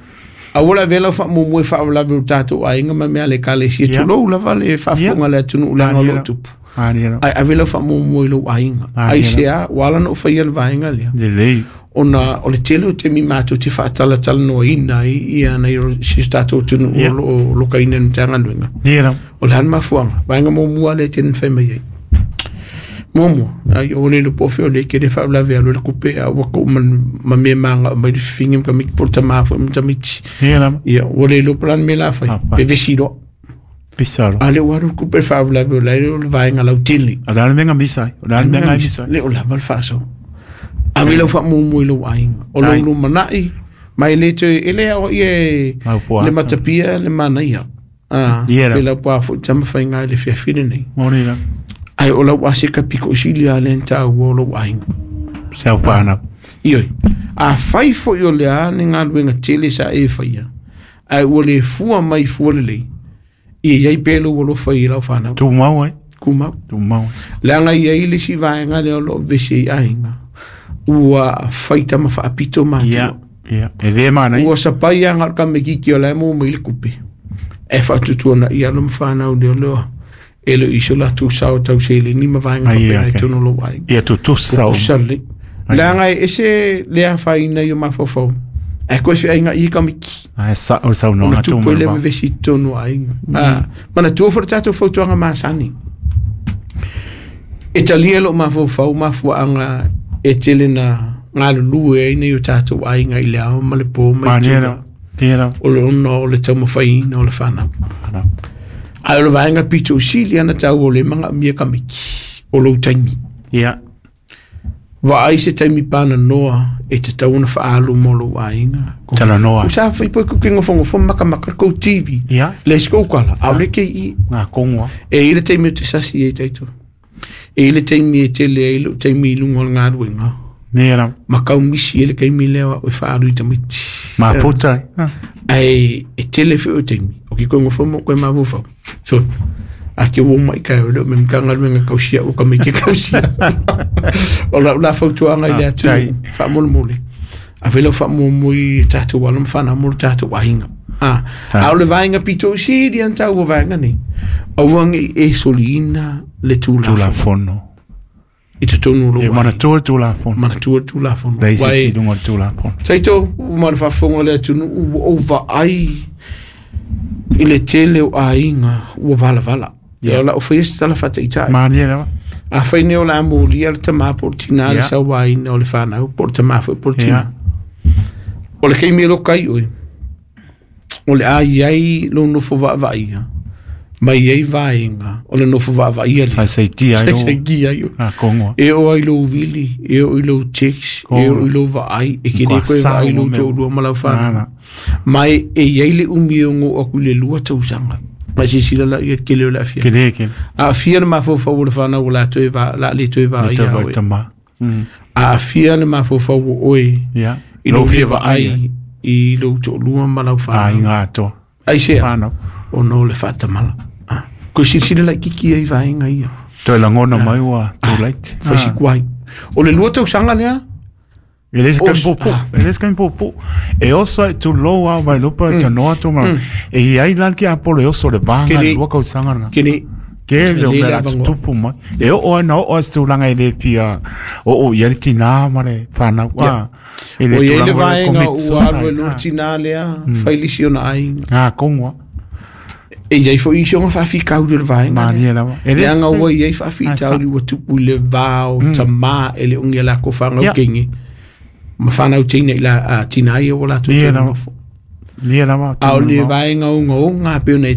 Speaker 1: Aua le ave lau faamuamua e faalavelave o tatou aiga ma mea le ekalesia.
Speaker 2: Ia.
Speaker 1: Tulou lava le faafofoga le atunuu leaga o loo tupu.
Speaker 2: Ani era.
Speaker 1: Ai ave lau faamuamua i lou aiga.
Speaker 2: Ah,
Speaker 1: Ai
Speaker 2: ia.
Speaker 1: se a, ua ala ona ou faia le vaega lea.
Speaker 2: Le lei.
Speaker 1: Ona o le tele o taimi matou te faatalatalanoaina ai ia nai o si o tatou atunuu
Speaker 2: Ia.
Speaker 1: o loo lokaina i le Matagaluega.
Speaker 2: Ia.
Speaker 1: O le a le mafuaga, vaega muamua lea e tele na fai mai ai. Muamua, ai o le po fe o le ke le faalavelave alu le kupe a ua kou ma ma mea maga mai le fifigi ma tamaiti po o le tamā foi ma tamaiti.
Speaker 2: Ia.
Speaker 1: Ia, ua le iloa po o le a le mea la fai,
Speaker 2: Ah, fai.
Speaker 1: pevesi loa.
Speaker 2: Pisaro.
Speaker 1: A lea ua alu le kupe faalavelave o la e o le vaega lautele.
Speaker 2: A le menga misai. O le menga misai.
Speaker 1: Le o lava le faasoa. Ave lau faamuamua i lou aiga. O lou
Speaker 2: Ai.
Speaker 1: lumanai, ma e le toe, e le aoaia e
Speaker 2: Mau poa.
Speaker 1: le matapia le manaia. Ah,
Speaker 2: Ia la.
Speaker 1: pe lau poa foi tamafaiga i le fiafi lenei.
Speaker 2: Mori la.
Speaker 1: Ai o lau aseka piko sili a le taua o lou aiga.
Speaker 2: Sau pāna.
Speaker 1: Ioi, a fai foi o le a ni galuega tele sa e faia, ae ua le fua mai fua lelei, ia iai pea lou alofa i lau fanau.
Speaker 2: Tū mau ai.
Speaker 1: Kumau.
Speaker 2: Tū mau.
Speaker 1: Leaga iai le isi vaega lea o loo vevesi ai aiga, ua faita ma faapito
Speaker 2: Ia.
Speaker 1: matua.
Speaker 2: Ia. E le mana.
Speaker 1: Ua sapai aga o le tamaititi o la e maua mai le kupe. E faatutuanaʻi alo ma fanau lea lea. E le o iso latou sao tauseleni ma vaega
Speaker 2: Ai,
Speaker 1: faapena i
Speaker 2: okay.
Speaker 1: totonu o lou aiga.
Speaker 2: Ia tū tū sau.
Speaker 1: Tutusa lelei. Leaga e ese le afaina i o mafaufau. Ae koe feaigaʻi i tamaiti.
Speaker 2: Ai sa o sau no
Speaker 1: Ona
Speaker 2: tū
Speaker 1: tupu ai le
Speaker 2: mana.
Speaker 1: vevesi i totonu o aiga. Ah, manatua foi le tatou fautuaga masani. E talia loo mafaufau mafuaaga e tele na galulue ai nei o tatou aiga i le ao ma le po ma i
Speaker 2: Mani
Speaker 1: tulaga
Speaker 2: era. Ia.
Speaker 1: o le ona o le taumafaiina o le fanau. Ae o le vaega pito sili ana tau o le magaomia tamaiti o lou taimi.
Speaker 2: Ia.
Speaker 1: Vaai se taimi pananoa e tatau ona faaalu mo lou aiga.
Speaker 2: Talanoa.
Speaker 1: Sa fai po ku ke ngofongofo makamaka le kou TV.
Speaker 2: Ia.
Speaker 1: Le se kou kala, aole ke i.
Speaker 2: Ngā kongoa.
Speaker 1: E i le taimi o te sasi e taito. E i le taimi e tele ai lou taimi i luga o le galuega.
Speaker 2: Ia la.
Speaker 1: Ma kau misi e le kaimi lea o e faaalu i tamaiti.
Speaker 2: Ma puta.
Speaker 1: Ai e tele foi o taimi. O ke koe ngofo mo koe mafaufau. So, a ke ua mai kai o leo me Matagaluega kausia o ka mai ke kausia. O lau la fautuaga i le
Speaker 2: Ah,
Speaker 1: atunuu, faamolemole. Ave lau faamuamua i tatou alo ma fanau mo le tatou aiga. Ah,
Speaker 2: Ah.
Speaker 1: a o le vaega pito sili ana taua vaega nei. Aua nei e soliina le tulafono
Speaker 2: Tulafono.
Speaker 1: i totonu o lou
Speaker 2: E mana
Speaker 1: aiga.
Speaker 2: tua tulafono.
Speaker 1: Manatua le tulafono.
Speaker 2: Lei se
Speaker 1: Uae,
Speaker 2: silunga o le tulafono.
Speaker 1: Taito, ma le faafofoga le atunuu ua ou vaai i le tele o aiga ua valavala. Ia o lau faia se tala faataitai.
Speaker 2: Mani era.
Speaker 1: Afai nei o le a molia le tamā po o le tinā le
Speaker 2: Ia.
Speaker 1: sauaina o le fanau po o le tamā foi po o le
Speaker 2: Ia.
Speaker 1: tinā. O le kaimi e loka ai oe, o le a iai lou nofo vaavaaia Ma i ai vaega o le nofo vaavaaia lea.
Speaker 2: Saisaitia ai
Speaker 1: Saisaitia ai oe.
Speaker 2: A kongoa.
Speaker 1: E oo ai lou vili, e oo i lou text, e oo i lou vaai, e te le toe vaai i lou toalua ma lau fanau. Ma e i ai le umi e ogo aku i le 2 tausaga. Ma silasila la ia tele o le aafiaga.
Speaker 2: Tele tele.
Speaker 1: Aafia le mafaufau o le fanau o le a toe va, la le toe vaai ia oe. Aafia le mafaufau o oe i lou le vaai i lou toalua ma lau fanau.
Speaker 2: Aiga atoa.
Speaker 1: Aisea? Ona o le faatamala. Koe silasila laitiiti ai vaega ia.
Speaker 2: Toe lagona mai ua too late.
Speaker 1: Fai si tuai. O le 2 tausaga lea.
Speaker 2: E le se taimi puupuu, e le se taimi puupuu. E oso ai tulou lava Vailupa e tanoa atu ma e i ai la le tiapolo e oso i le va na i le 2 tausaga lena.
Speaker 1: Kele.
Speaker 2: Tele o mea o le a tutupu mai. E oo ai na oo ai se tulaga e le fia oo i ai le tina ma le fanau.
Speaker 1: Ia.
Speaker 2: E le
Speaker 1: Ua i ai
Speaker 2: tulaga
Speaker 1: le
Speaker 2: foi lea e
Speaker 1: vaega
Speaker 2: commit
Speaker 1: ua alu
Speaker 2: suicide.
Speaker 1: ai loa le tina lea, fai le isi ona aiga.
Speaker 2: A, tonu lava.
Speaker 1: E i ai foi isi ona faafitauli o le vaega lea.
Speaker 2: Malie lava. E le
Speaker 1: Leaga
Speaker 2: se
Speaker 1: ua i ai faafitauli ua tupu i le va o tamā e le o ni a latou fanau teine ma fanau teine i la, a, tina ia ua latou
Speaker 2: Ia
Speaker 1: toe
Speaker 2: lava.
Speaker 1: nonofo.
Speaker 2: Ia lava.
Speaker 1: A o le vaega ogaoga pei ona e